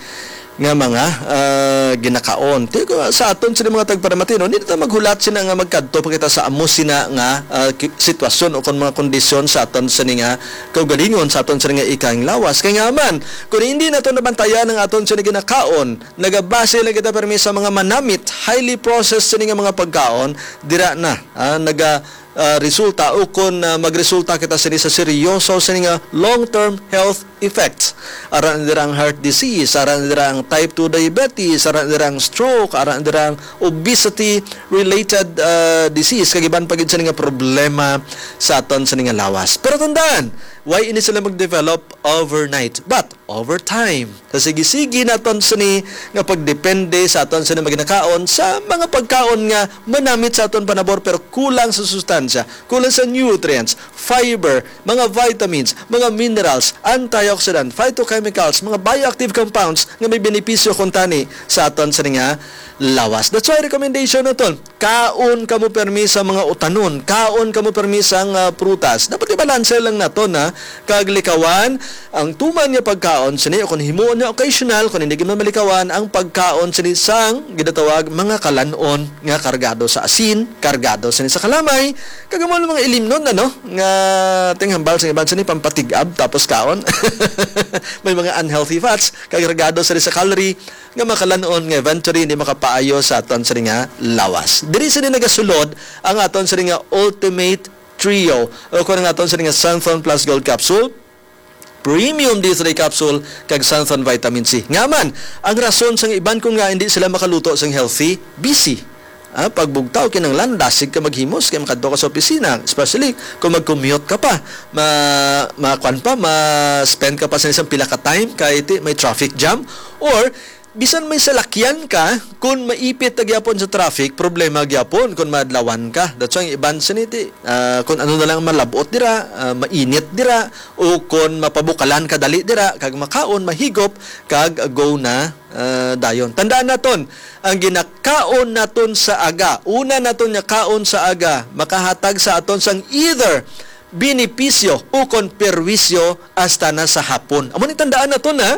nga mga, ah, ginakaon. Ti ko, sa aton sini mga tagparamati, no, hindi ta maghulat sina nga magkadto pa kita sa amo sina nga, ah, ki-, sitwasyon o kung mga kondisyon sa aton sini nga kaugalingon, sa aton sini nga ikang lawas. Kay nga man, kung hindi nato nabantayan ang aton sini ginakaon, nagabase lang kita permi sa mga manamit, highly processed sini nga mga pagkaon, dira na, ah, naga, ah, resulta o kon, ah, magresulta kita sini sa seryoso sini nga long-term health effects. Ara na dira ang heart disease, ara na dira ang type two diabetes, ara na dira ang stroke, ara na dira ang obesity-related, ah, disease, kag iban pa gid sini nga problema sa aton sini nga lawas. Pero tandaan, why ini sila mag-develop overnight, but over time. Sa sige-sige naton sini nga pagdepende sa aton sini maginakaon sa mga pagkaon nga manamit sa aton panabor pero kulang sa sustansya, kulang sa nutrients, fiber, mga vitamins, mga minerals, antioxidant, phytochemicals, mga bioactive compounds nga may benepisyo kuntani sa aton sini nga lawas. That's why recommendation naton, kaon kamo permi sa mga utanon, kaon kamo permi sang, ah, prutas. Dapat ibalanse lang naton, ha, kag likawan ang tuman nga pagkaon sini, o kon himuon nga occasional, kon hindi gid man malikawan ang pagkaon sini sang ginatawag mga kalan-on nga kargado sa asin, kargado sini sa kalamay, kag amo ang mga ilimnon, ano, nga tinghambal sa iban sini pampatig-ab tapos kaon. May mga unhealthy fats, kag kargado sini sa calorie, nga makalan-on nga eventually hindi makapaayo sa aton sini nga lawas. Diri sini nagasulod ang aton sini nga Ultimate Trio, o kung ang aton sini nga Xanthone Plus Gold Capsule, Premium D three Capsule, kag Xanthone Vitamin C. Nga man, ang rason sang iban kung nga hindi sila makaluto sang healthy, busy. Ah, pagbugtaw, kinahanglan dasig ka maghimos kay makadto ka sa opisina, especially kung mag-commute ka pa. Ma-, ma-, kuwan pa, ma-spend ka pa sa isang pila ka time kay ti-, may traffic jam, or Bisan may salakyan ka, kung maipit na gyapon sa traffic, problema gyapon kung maadlawan ka. That's why ang iban sini ti, ah, kung ano na lang malabot dira, ah, mainit dira, o kung mapabukalan ka dali dira, kag makaon, mahigop, kag go na, ah, dayon. Tandaan naton, ang ginakaon naton sa aga, una naton nga kaon sa aga, makahatag sa aton sang either benepisyo o kon perwisyo hasta na sa hapon. Amo ni tandaan naton, ha?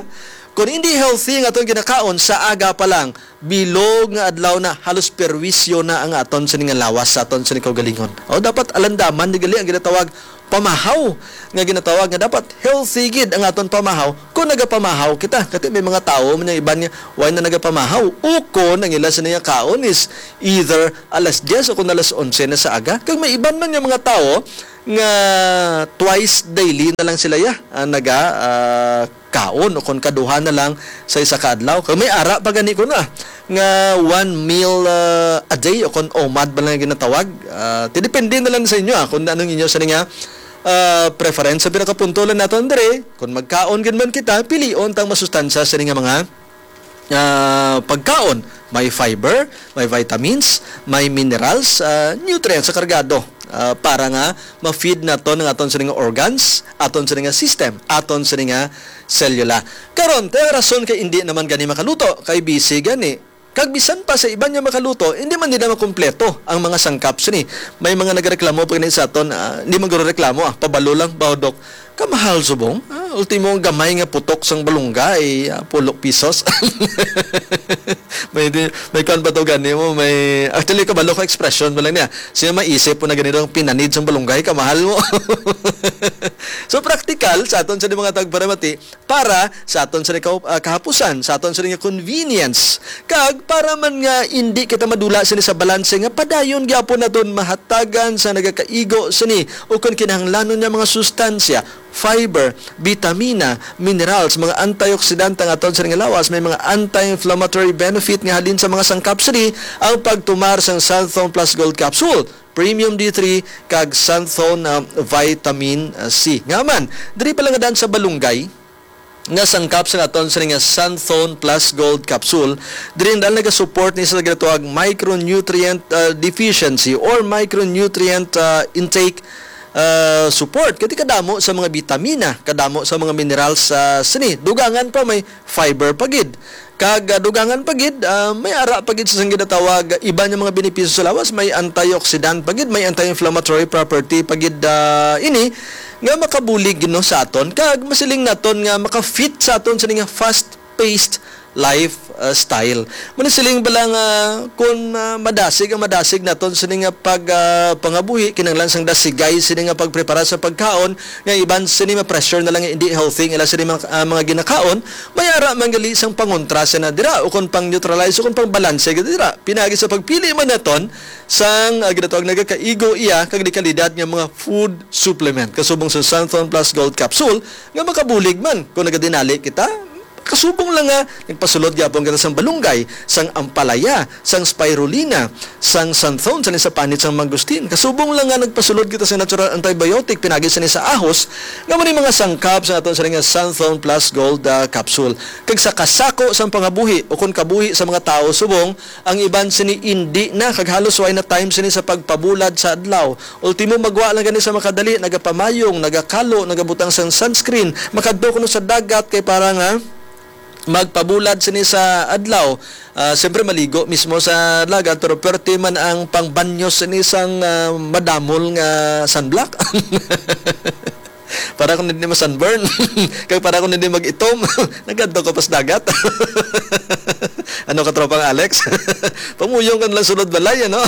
Kung hindi healthy ang aton ginakaon sa aga pa lang, bilog nga adlaw na, halos perwisyo na ang aton sini nga lawas, sa aton sini kaugalingon. O, dapat alandaman ni gali ang ginatawag pamahaw, nga ginatawag nga dapat healthy gid ang aton pamahaw kung nagapamahaw kita. Kati may mga tawo man yung iban nga, why na nagapamahaw? Ukon ang ila sini nga kaon is either alas diyes o kung alas onse na sa aga. Kag may iban man yung mga tawo nga twice daily na lang sila ya, ah, naga, ah, kaon o kon kaduha na lang sa isa ka adlaw. Kag may ara pa gani ko na nga one meal, ah, a day o kon omad ba lang ginatawag. Ah, ti depende na lang sa inyo, ah, kung anong inyo sa nga, ah, preference. Sa pinakapunto lang nato, Andre, kung magkaon gid man kita, pilion tang masustansya sa nga mga, ah, pagkaon. May fiber, may vitamins, may minerals, ah, nutrients sa kargado, ah, para nga ma-feed naton ang aton sini nga organs, aton sini nga system, aton sini nga selula. Karon, tayo rason kay hindi naman gani makaluto, kay busy gani. Kag bisan pa sa iban nga makaluto, hindi man nila makumpleto ang mga sangkap sini. May mga nagreklamo pa gani sa aton, ah, hindi man guro reklamo, ah, pabalo lang, "Baw, Dok, kamahal subong. Ah, ultimo ang gamay nga putok sang balunggay, ah, pulo pisos." May di, may kuwan pa to gani mo, may, actually, kabalo ko expression mo lang niya. Siya maisip po na ganito ang pinanid sang balunggay, kamahal mo. So, practical, sa aton sa mga tagparamati, para sa aton sa kahup-, ah, kahapusan, sa aton sa nga convenience, kag para man nga hindi kita madula sini sa balanse nga padayon gyapon naton mahatagan sa nagakaigo sini o kon kinahanglanon nga mga sustansya, fiber, bitamina, minerals, mga antioxidant ang aton sa nga lawas, may mga anti-inflammatory benefit nga halin sa mga sangkap sini ang pagtumar sang Santhon Plus Gold Capsule, Premium D three, kag Santhon, ah, Vitamin, ah, C. Nga man, diri pa lang nga daan sa balunggay, nga sangkap sa naton sa nga Santhon Plus Gold Capsule, diri ang daan nagasupport ni sa ginatawag micronutrient, ah, deficiency or micronutrient, ah, intake, ah, support. Kati kadamo sa mga bitamina, kadamo sa mga minerals sa sini. Dugangan pa may fiber pa gid. Kag, ah, dugangan pa gid, ah, may ara pa gid sa sang ginatawag iban nga mga benepisyo sa lawas, may antioxidant pa gid, may anti-inflammatory property pa gid, ah, ini nga makabulig, no, sa aton. Kag masiling naton nga maka-fit sa aton sa nga fast-paced life, ah, style. Manisiling ba lang, ah, kung, ah, madasig ang madasig naton sini nga pag, ah, pangabuhi, kinahanglan sang dasigay sini nga pagprepara sa pagkaon, nga iban sini ma-pressure na lang nga hindi healthy ang ila sini mga, ah, mga ginakaon, may ara man gali sang pangontra sina dira, o kon pang-neutralize, o kon pang-balanse gid dira. Pinagi sa pagpili man naton sang, ah, ginatawag nagakaigo iya kag di kalidad nga mga food supplement. Kasubong sa Santhon Plus Gold Capsule, nga makabulig man kung nagadinali kita, kasubong lang nga nagpasulod gyapon kita sang balunggay, sang ampalaya, sang spirulina, sang santhon, sa sa panit sang mangustin. Kasubong lang nga nagpasulod kita sa natural antibiotic, pinagi sa ni sa ahos, nga mao ni mga sangkap sa aton sa nga Santhon Plus Gold, ah, Capsule. Kag sa kasako sang pangabuhi o kon kabuhi sa mga tawo subong, ang iban sini indi na, kag halos way na time sini sa pagpabulad sa adlaw. Ultimo, magwa lang gani sa makadali, nagapamayong, nagakalo, nagabutang sang sunscreen, makadto kuno sa dagat kay para nga magpabulad sini sa adlaw. Ah, siyempre, maligo mismo sa dagat, pero perte man ang pangbanyo sini sang, ah, madamol nga sunblock. Para kung hindi ma-sunburn. Kag para kung hindi mag-itom. Nagkadto ka pas dagat. Ano ka, tropang Alex? Pamuyong ka na lang sulod balay, ano?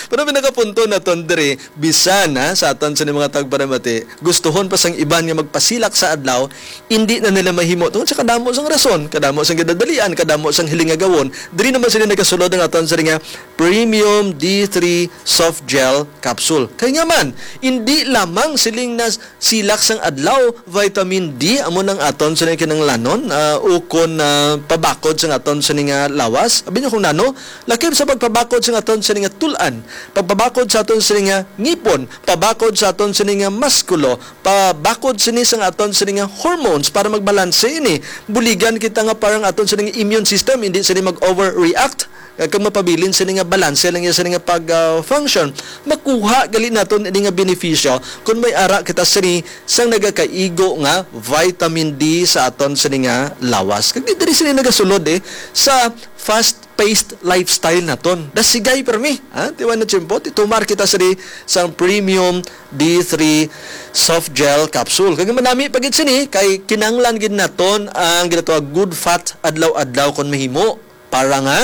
Pero pinakapunto naton diri, bisan, ha, sa aton sa mga tagparamati, gustuhon pa sang iban nga magpasilak sa adlaw, hindi na nila mahimo tungod sa kadamo sang rason, kadamo sang ginadalian, kadamo sang hiling nga gawon. Diri naman sila nagasulod ang aton sa nga Premium D three Soft Gel Capsule. Kay nga man, hindi lamang siling na silak sang adlaw, vitamin D amo nang aton sa kinahanglanon, ah, ukon, ah, pabakod sa aton sa sini nga lawas. Abi niyo kung nano, lakip sa pagpabakod sa aton sini nga tul-an, pagpabakod sa aton sini nga ngipon, pabakod sa aton sini nga maskulo, pabakod sini sa aton sini nga hormones para magbalanse ini. Buligan kita nga parang aton sini nga immune system, hindi sini mag-overreact. Kag mapabilin sini nga balanse lang iya sini nga pag, ah, function. Makuha gali naton ini nga benepisyo kung may ara kita sini sang nagakaigo nga vitamin D sa aton sini nga lawas. Kag di diri sini nagasulod, eh, sa fast-paced lifestyle naton. Dasigay permi, ha? Tiwan na tiyempo, titumar kita sini sang premium D three soft gel capsule. Kag manami pa gid sini kay kinahanglan gid naton ang ginatawag good fat adlaw-adlaw kon mahimo. Para nga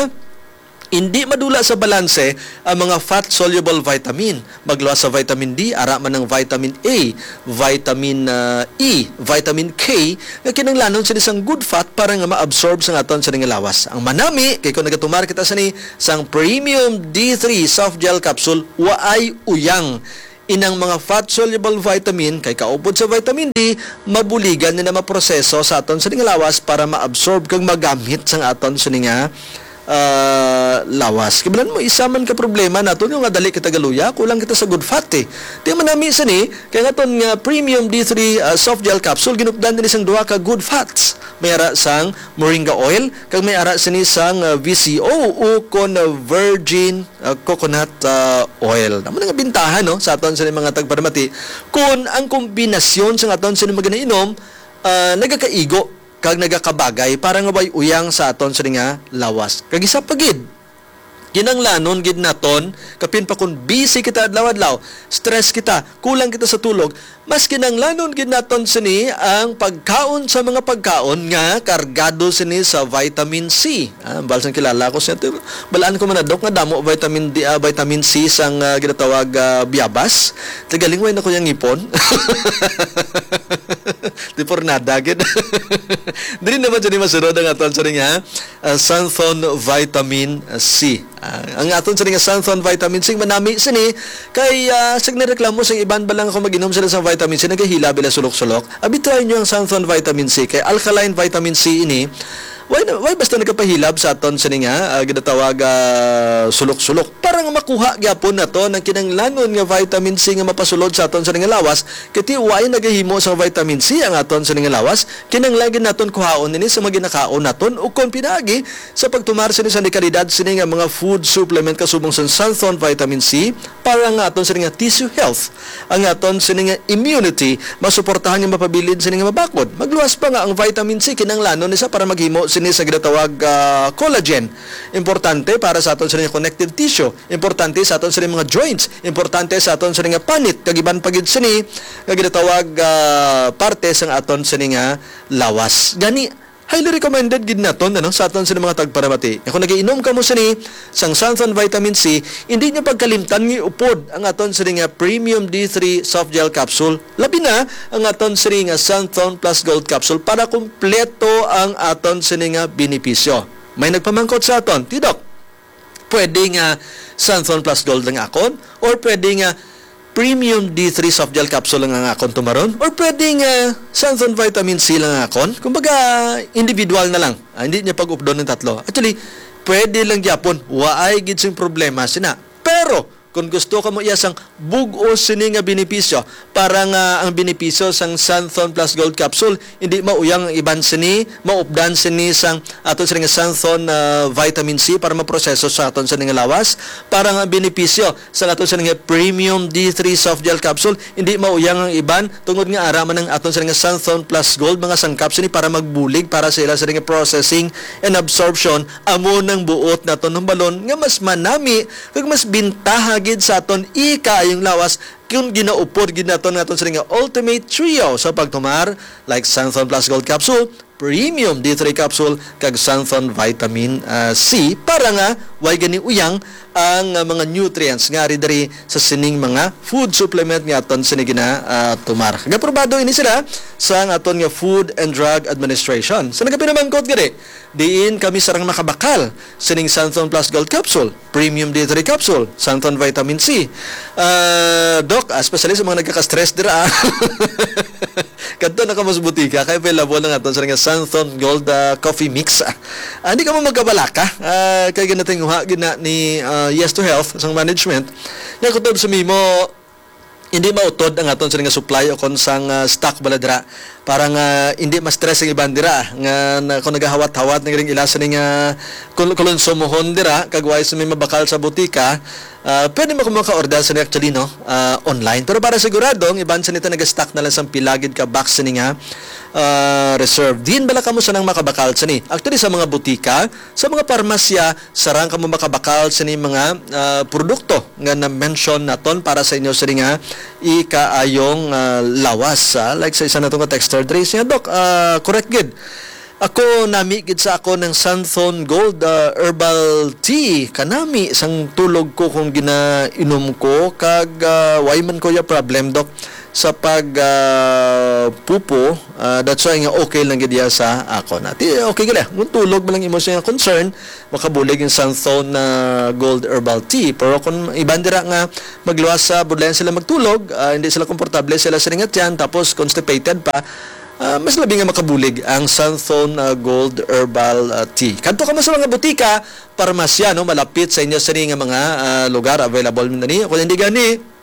hindi madula sa balanse ang mga fat-soluble vitamin. Magluwas sa vitamin D, ara man ang vitamin A, vitamin, ah, E, vitamin K, nga kinahanglanon sini sang good fat para nga ma-absorb sa aton sini nga lawas. Ang manami, kay kung nagatumar kita sini sang premium D three soft gel capsule, waay uyang inang mga fat-soluble vitamin, kay kaupod sa vitamin D, mabuligan nila maproseso sa aton sini nga lawas para ma-absorb kag magamit sa aton sini nga, ah, lawas. Kibalan mo, isa man ka problema nato nga dali kita galuya, kulang kita sa good fat, eh. Di man nami sini, kay ang aton nga premium D three, ah, soft gel capsule, ginupdan din sang duha ka good fats. May ara sang moringa oil, kag may ara sini sang, ah, V C O o kon, ah, virgin ah, coconut, ah, oil. Amo na nga bintahan, no, sa aton sini mga tagparamati, kun ang kombinasyon sa aton sini mga ginainom, ah, nagakaigo kag nagakabagay para nga way uyang sa aton sini nga lawas. Kag isa pa gid, kinanglanon gid naton, kapin pa kun busy kita adlaw-adlaw, stress kita, kulang kita sa tulog, mas kinanglanon gid naton sini ang pagkaon sa mga pagkaon nga kargado sini sa vitamin C. Ah, balsang kilala ko siya. Balaan ko man na, Dok, nga damo vitamin D, ah, vitamin C sang, ah, ginatawag, ah, biyabas. Tigalingway na ko yung ngipon. Di por nada gid. Dili naman siya ni masunod ang aton sa ring, ha? Ah, Santhon vitamin C. Ah, ang aton sini nga Santhon vitamin C, manami sini kay, ah, sig nireklamo sang iban ba lang ako mag-inom sila sa vitamin C, nagahilab ila sulok-sulok. Abi, try nyo ang Santhon vitamin C, kay alkaline vitamin C ini. Why, na- why basta nagapahilab sa aton sini nga, ah, ginatawag, ah, sulok-sulok? Para nga makuha gyapon nato ang kinanglanon nga vitamin C nga mapasulod sa aton sini nga lawas, kay ti why nagahimo sang vitamin C ang aton sini nga lawas, kinanglan gid naton kuhaon ini sa mga ginakaon naton, o kon pinaagi, sa pagtumar sini sa dekalidad sini nga mga food supplement kasubong sang Santhon vitamin C, para nga aton sini nga tissue health, ang aton sini nga immunity, masuportahan nga mapabilin sini nga mabakod. Magluwas pa nga ang vitamin C, kinanglanon ni sa para maghimo sini sa ginatawag, ah, collagen. Importante para sa aton sini nga connective tissue, importante sa aton sini mga joints, importante sa aton sini nga panit, kag iban pa gid sini nga ginatawag, ah, parte sang aton sini nga lawas. Gani, highly recommended gid naton, ano, sa aton sini mga tagparamati. Kung nagiinom kamo sini sang Santhon Vitamin C, hindi niyo pagkalimtan nga iupod ang aton sini nga Premium D three Soft Gel Capsule, labi na ang aton sini nga Santhon Plus Gold Capsule para kumpleto ang aton sini nga benepisyo. May nagpamangkot sa aton, "Ti Doc, pwede nga Santhon Plus Gold lang akon? Or pwede nga Premium D three Soft Gel Capsule lang ang akon tumaron? Or pwede nga Santhon Vitamin C lang ang akon?" Kumbaga, individual na lang. Ah, hindi niya pag-updon ng tatlo. Actually, pwede lang gyapon. Waay gid sing problema sina. Pero, kung gusto ka mo iya sang bug-os sini nga benepisyo, para nga ang benepisyo sang Santhon Plus Gold Capsule, hindi mauyang ang iban sini, maupdan sini sang aton sini nga Santhon, ah, Vitamin C para maproseso sa aton sini nga lawas, para nga ang benepisyo sa aton sini nga Premium D three Soft Gel Capsule, hindi mauyang ang iban, tungod nga ara man ang aton sini nga Santhon Plus Gold, mga sangkap sini para magbulig para sa ila sini nga processing and absorption, amo nang buot naton hambalon nga mas manami kag mas bintaha gid sa aton ikaayong lawas kung ginaupod gid naton nga aton sini nga Ultimate Trio sa pagtumar, like Santhon Plus Gold Capsule, Premium D three Capsule, kag Santhon Vitamin, ah, C, para nga way gani uyang ang, ah, mga nutrients nga ari diri sa sining mga food supplement nga aton sini gina, ah, tomar. Nag-aprobado ini sila sa ang aton nga Food and Drug Administration. Sa nagapinamangkot gani, diin kami sarang makabakal sining Santhon Plus Gold Capsule, Premium D three Capsule, Santhon Vitamin C. Ah, Doc, ah, especially sa mga nagkaka-stress dira, ah. Kadto na kamo sa butika, kay available na nga to sa nga Santhon Gold, ah, Coffee Mix. Ah, hindi ka mo magkabalaka. Ah, kay ginatinguha gina ni, ah, Yes to Health sang management. Nga kutob sa mimo, hindi mautod ang aton sa nga supply o kon sang, ah, stock bala dira. Para nga hindi ma-stress ang iban dira nga na, kung nagahawat-hawat na galing ila sa nga kul-, kulunsumohon dira, kag way sa may mabakal sa butika, ah, pwede mo kamo maka-order sa actually, no? Ah, online. Pero para sigurado, ang iban sa nito nag-stock na lang sa pilagid ka box sini nga, ah, reserve. Din bala kamo sa nang makabakal sini? Actually, sa mga butika, sa mga parmasya, sarang kamo makabakal sini mga, ah, produkto nga na-mention naton para sa inyo sini nga ikaayong, ah, lawas, ah. Like sa isa nato nga texter, diri siya, "Doc, ah, correct gid. Ako nami gid sa ako ng Santhon Gold, ah, Herbal Tea. Kanami sang tulog ko kung ginainom ko, kag, ah, way man ko ya problem, Doc, sa pag, ah, pupo. Ah, that's why nga okay lang gid ya sa ako na." Ti, okay gid, ah. Kung tulog man lang imo siya concern, makabulig ang Santhon na Gold Herbal Tea. Pero kung iban dira nga magluwas sa budlayan sila magtulog, ah, hindi sila komportable sila sa ringat yan, tapos constipated pa, ah, mas labi nga makabulig ang Santhon, ah, Gold Herbal, ah, Tea. Kadto kamo sa mga butika, parmasya, no, malapit sa inyo sini nga mga, ah, lugar, available man ni. Kung hindi gani,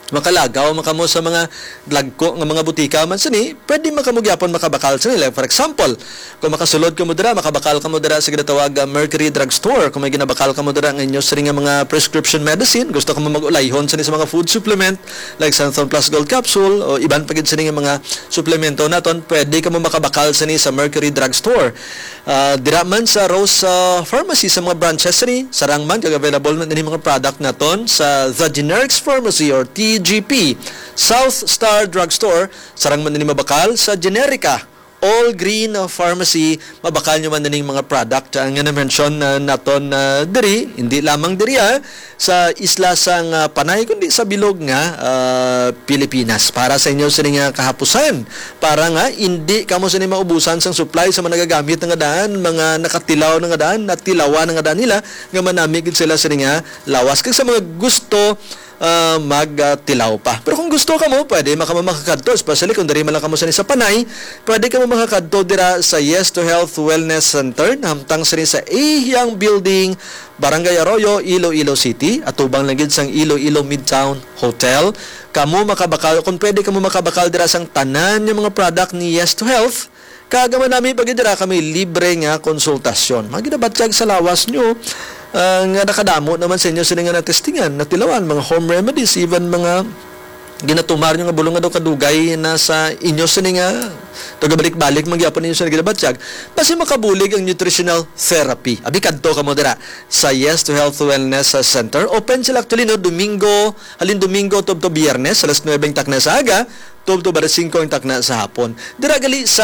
makalagaw man kamo sa mga dagko nga mga butika man sini, pwede man kamo gyapon makabakal sini. Like, for example, kung makasulod kamo dira, makabakal kamo dira sa ginatawag, ah, Mercury Drugstore. Kung may ginabakal kamo dira nga inyo sini nga mga prescription medicine, gusto kamo mag-ulayhon sini sa mga food supplement, like Santhon Plus Gold Capsule, o iban pa gid sini nga mga suplemento naton, pwede kamo makabakal sini sa Mercury Drugstore. Ah, dira man sa Rose, ah, Pharmacy sa mga branches ni, sarang man kag available man ini mga product naton sa The Generics Pharmacy or T G P, South Star Drugstore, sarang man ini mabakal sa Generica, All Green, ah, Pharmacy, mabakal nyo man ining mga product, ah, nga na-mention, ah, naton, ah, diri, hindi lamang diri, ah, sa isla sang, ah, Panay, kundi sa bilog nga, ah, Pilipinas. Para sa inyo sini nga kahapusan, para nga hindi kamo sini maubusan sang supply sa mga nagagamit na nga daan, mga nakatilaw na nga daan, natilawan na nga daan nila, nga manami gid sila sini nga lawas. Kag sa mga gusto, ah, magtilaw pa. Pero kung gusto kamo, pwede man kamo makakadto, especially kung diri man lang kamo sini sa Panay, pwede kamo makakadto dira sa Yes to Health Wellness Center, nahamtang sini sa Ahiang Building, Barangay Arroyo, Iloilo City, atubang lang gid sang Iloilo Midtown Hotel. Kamo makabakal, kung pwede kamo makabakal dira sang tanan nga mga product ni Yes to Health, kag ang manami pa gid dira kami libre nga konsultasyon. Mga ginabatyag sa lawas nyo, ah, nga nakadamo naman sa inyo sini nga natestingan, natilawan, mga home remedies, even mga ginatumar nyo nga bulong nga daw kadugay na sa inyo sini nga nagabalik-balik man gyapon ninyo sa ginabatyag. Basi makabulig ang nutritional therapy. Abi, kadto kamo dira sa Yes to Health Wellness Center. Open sila actually, no, Domingo, halin Domingo tubto Biyernes, alas nuebe ang takna sa aga, tubto alas singko ang takna sa hapon. Dira gali sa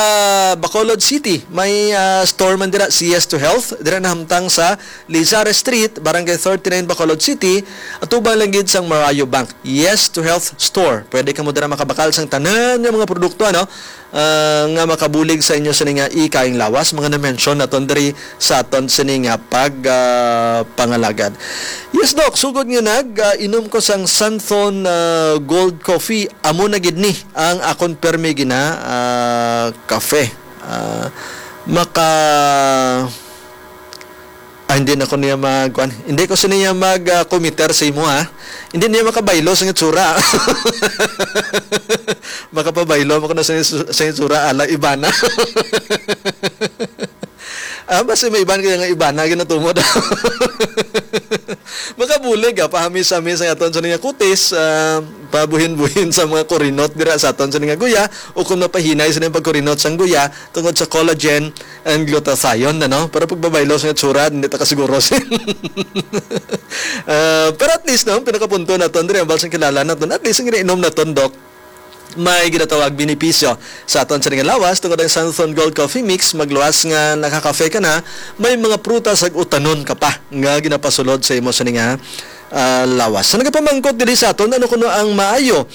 Bacolod City, may, ah, store man dira si Yes to Health. Dira nahamtang sa Lizares Street, Barangay thirty-nine, Bacolod City, atubang lang gid sang Marayo Bank. Yes to Health Store. Pwede kamo dira makabakal sang tanan nga mga produkto, ano, ah, nga makabulig sa inyo sini nga ikaayong lawas, mga na-mention naton diri sa aton sini nga pag, ah, pangalagad. Yes, Doc, sugod nga nag, ah, inom ko sang Santhon, ah, Gold Coffee, amo na gid ni ang akon permi gina, ah, kafe. Ah, maka Ah, hindi na ko niya mag, kuwan. Hindi ko sa niya mag, ah, committer sa imo, ha. Hindi niya makabaylo sa itsura. Makapabaylo mo ko na sa, sa itsura, ala, iba na. Ah, basta may iban kaya nga iba na, ginatumod. Makabulig, ah, pahamis-hamis ang aton sa niya kutis, ah, pabuhin-buhin sa mga kurinot dira sa aton sa nga guya, o kung mapahinay sa niyang pagkurinot sang guya, tungod sa collagen and glutathione, ano? Pero pagbabaylo sa itsura, hindi ta kasiguro sin. Ah, pero at least, no, pinakapunto naton diri, ang balsang kilala naton, at least ang ginainom naton, Doc, may ginatawag benepisyo sa aton sini nga lawas, tungod ang Santhon Gold Coffee Mix, magluwas nga nakakafe ka na, may mga prutas ag utanon ka pa nga ginapasulod sa imo sini nga, ah, lawas. So, nagapamangkot diri sa aton, ano kuno ang maayo?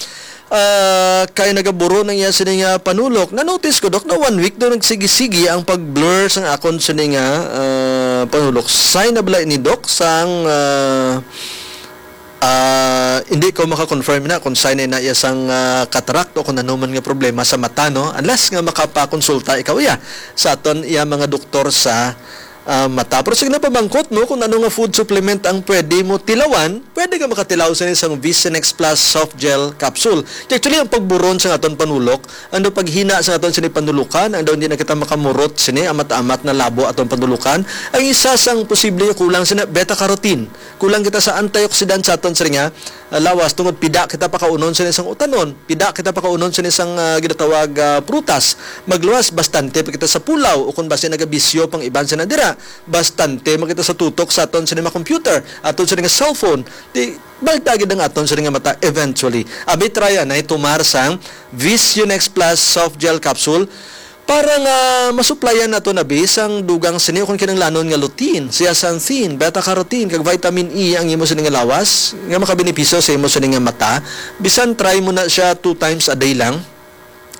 Ah, kay nagaburon ang iya sini nga panulok. Na-notice ko, Dok, na one week daw nagsigi-sigi ang pag-blur sang akon sini nga, ah, panulok. Sign na bala ini, Dok, sang, ah, ah, hindi ko maka-confirm na kung sign na iya sang, ah, cataract o kung ano man nga problema sa mata, no? Unless nga makapakonsulta ikaw iya sa aton iya mga doktor sa, ah, mata. Pero sige na, pamangkot mo kung ano nga food supplement ang pwede mo tilawan. Pwede ka makatilaw sa isang Vision X Plus Soft Gel Capsule. Actually, ang pagburon sa aton panulok, ang daw paghina sa aton sini panulukan, ang daw hindi na kita makamurot sini, amat-amat na labo aton panulukan. Ang isa sang posible kulang sina beta carotene. Kulang kita sa antioxidant sa aton sini nga, ah, lawas, tungod pida kita pakaunon sa isang utanon, pida kita pakaunon sa isang, ah, ginatawag, ah, prutas. Magluwas, bastante pa kita sa pulaw, o kung basi nagabisyo pang iban sa nadira, bastante man kita sa tutok sa aton sini nga computer, aton sini nga cellphone. Di, balta gid ang aton sini nga mata eventually. Abi, try anay tumar sang Vision X Plus Soft Gel Capsule para nga masuplayan nato na, bi, sang dugang sini o kung kinahanglanon nga lutein, zeaxanthin, beta carotene, kag vitamin E ang imo sini nga lawas nga makabenepisyo sa imo sini nga mata. Bisan try mo na siya two times a day lang,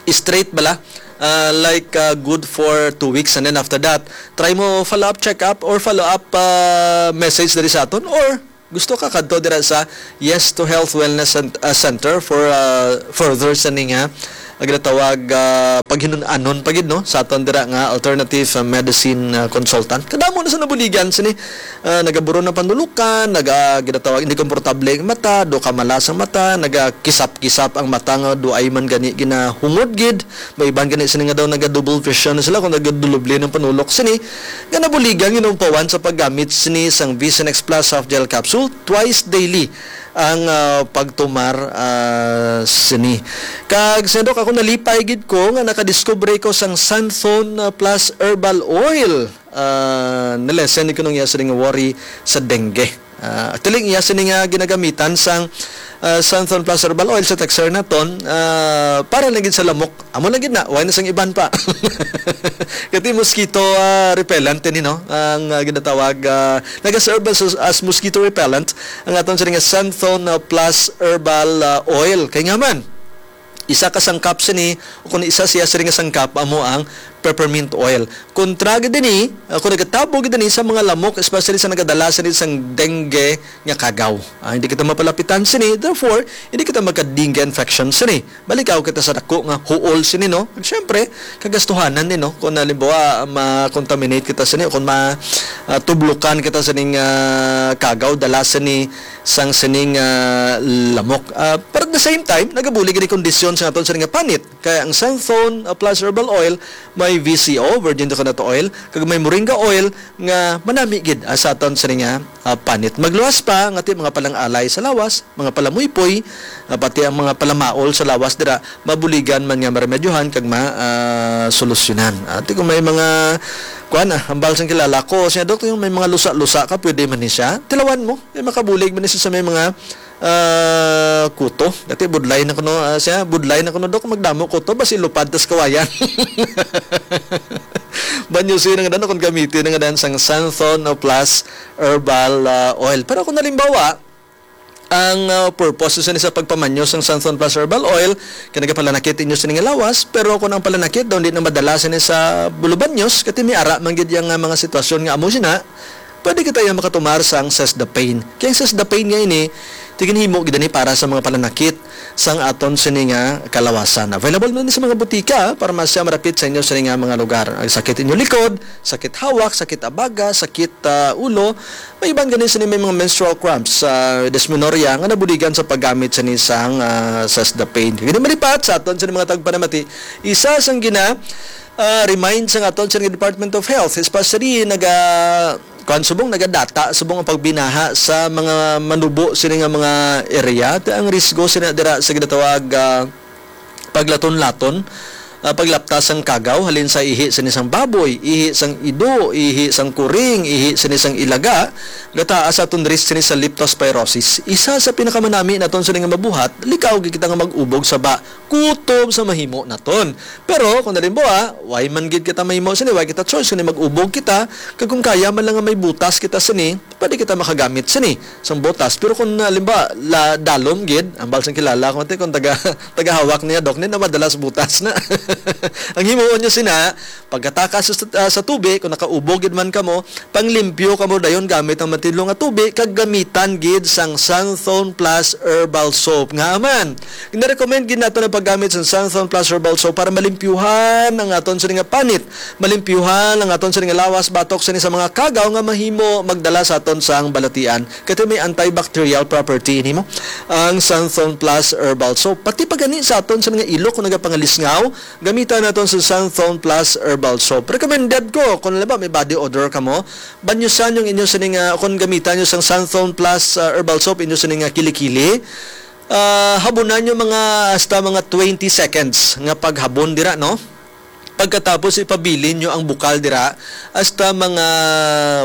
straight bala, ah, like, ah, good for two weeks, and then after that, try mo follow-up check-up or follow-up, ah, message diri sa aton, or gusto ka kadto dira sa Yes to Health Wellness Cent-, ah, Center for, ah, further sa ning, ah, ginatawag, ah, paghinun-anon pa gid, no, sa aton dira nga alternative, ah, medicine, ah, consultant. Kadamo na sa nabuligan sini, ah, nagaburon ang panulukan, naga, ginatawag, hindi komportable ang mata, do kamalas ang mata, nagakisap-kisap ang mata nga do ay man gani ginahungod gid. May iban gani sini nga daw naga-double vision na sila kung nagadulubli ng panulok sini. Nga nabuligan, ginaumpawan sa paggamit sini sang Vision X Plus Soft Gel Capsule twice daily ang, ah, pagtumar, ah, sini. Kag sa, Dok, ako nalipay gid ko nga nakadiskubre ko sang Santhon, ah, Plus Herbal Oil. Ah, nalesen ni kunong iya sining worry sa dengue. Ah, actually, iya sini nga ginagamitan sang, ah, Santhon Plus Herbal Oil sa texter naton, ah, para lang gid sa lamok. Amo lang gid na, wala na sang iban pa. Kati mosquito, ah, repellent ni, no? Ang, ah, ginatawag, ah, nagaserve as, as mosquito repellent ang aton sini nga Santhon, ah, Plus Herbal, ah, Oil. Kay nga man, isa ka sangkap sini, o kung isa siya sini nga sangkap, amo ang peppermint oil. Kontra gid ini, ah, kung nagatabo gid ini sa mga lamok, especially sa nagadala sini sang dengue nga kagaw. Ah, hindi kita mapalapitan sini, therefore, hindi kita magka-dengue infection sini. Balikaw kita sa dako nga huol sini, no? At syempre, kagastuhanan ni, no? Kung halimbawa, ma-contaminate kita sini, kung ma-, ah, tublukan kita sining, ah, kagaw, dala sini sang sining, ah, lamok. Ah, pero at the same time, nagabulig ni kondisyon sa aton sini nga panit. Kaya ang Santhon, ah, Plus Herbal Oil, may V C O, virgin coconut oil, kag may moringa oil nga manami gid, ah, sa aton sini nga, ah, panit. Magluwas pa nga ti mga palang-alay sa lawas, mga palamuypoy, ah, pati ang mga palamaol sa lawas dira, mabuligan man nga maremedyohan kag ma-, ah, solusyonan. Ati kung may mga, kuan, ah, hambal sang kilala ko, siya, "Dok, yung may mga lusa-lusa ka, pwede man ni siya? Tilawan mo, eh, makabulig man ni siya sa may mga, ah, kuto." Dati budlay na kuno, ah, siya, "Budlay na kuno, Dok, magdamo kuto, basi lupad tas kawayan." Banyo siya nga dan, kung gamitin nga dan sang Santhon o Plus Herbal, ah, Oil. Pero kung halimbawa, ang, ah, purpose sa, sa pagpamanyo sang Santhon Plus Herbal Oil, kay nagapalanakit inyo sini nga lawas, pero kung ang palanakit daw hindi na madala sini sa bulubanyos, kati may ara man gid yang, ah, mga sitwasyon nga amo sina, pwede kita yang makatumar sang Seize the Pain. Kay ang Seize the Pain nga ini, tiginhimo gid ni para sa mga palanakit sang aton sini nga kalawasan. Available man ni sa mga butika, parmasya, marapit sa inyo sini nga mga lugar. Ang sakit inyo likod, sakit hawak, sakit abaga, sakit, ah, ulo, may iban gani sini may mga menstrual cramps, ah, dysmenorrhea nga nabuligan sa paggamit sini sang, ah, Seize the Pain. Kag hindi malipat sa aton sini mga tagpanamati, isa sang gina, ah, remind sa aton sini Department of Health, especially naga, kuan, subong nagadata, subong ang pagbinaha sa mga manubo sini nga mga area, ti ang risgo sina dira sa ginatawag, ah, paglaton-laton, ah, paglaptas sang kagaw, halin sa ihi sini sang baboy, ihi sang ido, ihi sang kuring, ihi sini sang ilaga, gataas aton risk sini sa leptospirosis. Isa sa pinakamanami naton sini nga mabuhat, likaw gid kita nga mag-ubog sa ba, kutob sa mahimo naton. Pero kung halimbawa, way man gid kita mahimo sini, way kita choice, kundi mag-ubog kita, kag kung kaya man lang nga may butas kita sini, pwede kita makagamit sini sang butas. Pero kung, ah, halimbawa, la, dalom gid, ambal sang kilala ko, ate, kung taga, tagahawak niya, Dok, ni na madalas butas na. Ang himuon nyo sina, pagkatakas sa, ah, sa tubi, kung nakaubog gid man kamo, panglimpyo kamo dayon gamit ang matinlo nga tubi, kag gamitan gid sang Santhon Plus Herbal Soap. Nga man, ginarecommend gid nato ang paggamit sang Santhon Plus Herbal Soap para malimpyuhan ang aton sini nga panit, malimpyuhan ang aton sini nga lawas batok sini sa mga kagaw nga mahimo magdala sa aton sang balatian. Kay may antibacterial property ini mo ang Santhon Plus Herbal Soap. Pati pa gani sa aton sini nga ilok kung nagapangalisngaw, gamitan naton sa Santhon Plus Herbal Soap. Recommended ko kung halimbawa may body odor kamo, banyusan yung inyo sini nga, kung gamitan nyo sang Santhon Plus, ah, Herbal Soap, inyo sini nga kilikili. Ah, habunan nyo mga, hasta mga twenty seconds nga paghabon dira, no? Pagkatapos, ipabilin nyo ang bukal dira hasta mga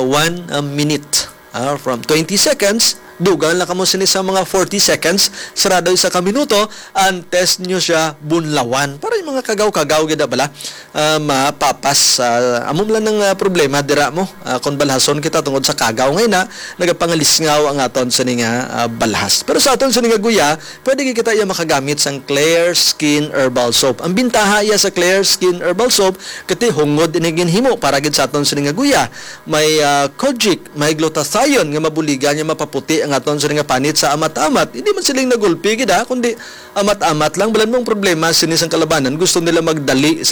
one, ah, minute. Ah, from twenty seconds, dugang lang kamo sini sa mga forty seconds, sarado isa ka minuto, antes nyo siya bunlawan. Para yung mga kagaw-kagaw gid bala, ah, mapapas. Ah, amo lang ang, ah, problema dira mo. Ah, kung balhason kita tungod sa kagaw ngay na, nagapangalisngaw ang aton sini nga, ah, balhas. Pero sa aton sini nga guya, pwede gid kita iya makagamit sang Clear Skin Herbal Soap. Ang bintaha iya sa Clear Skin Herbal Soap, kati hungod ini ginhimo para gid sa aton sini nga guya. May, ah, kojic, may glutathione nga mabuligan nga mapaputi ang aton sini nga panit sa amat-amat. Hindi man siling nagulpi gid, ha, kundi amat-amat lang. Balan mo ang problema sini sang kalabanan, gusto nila magdali sa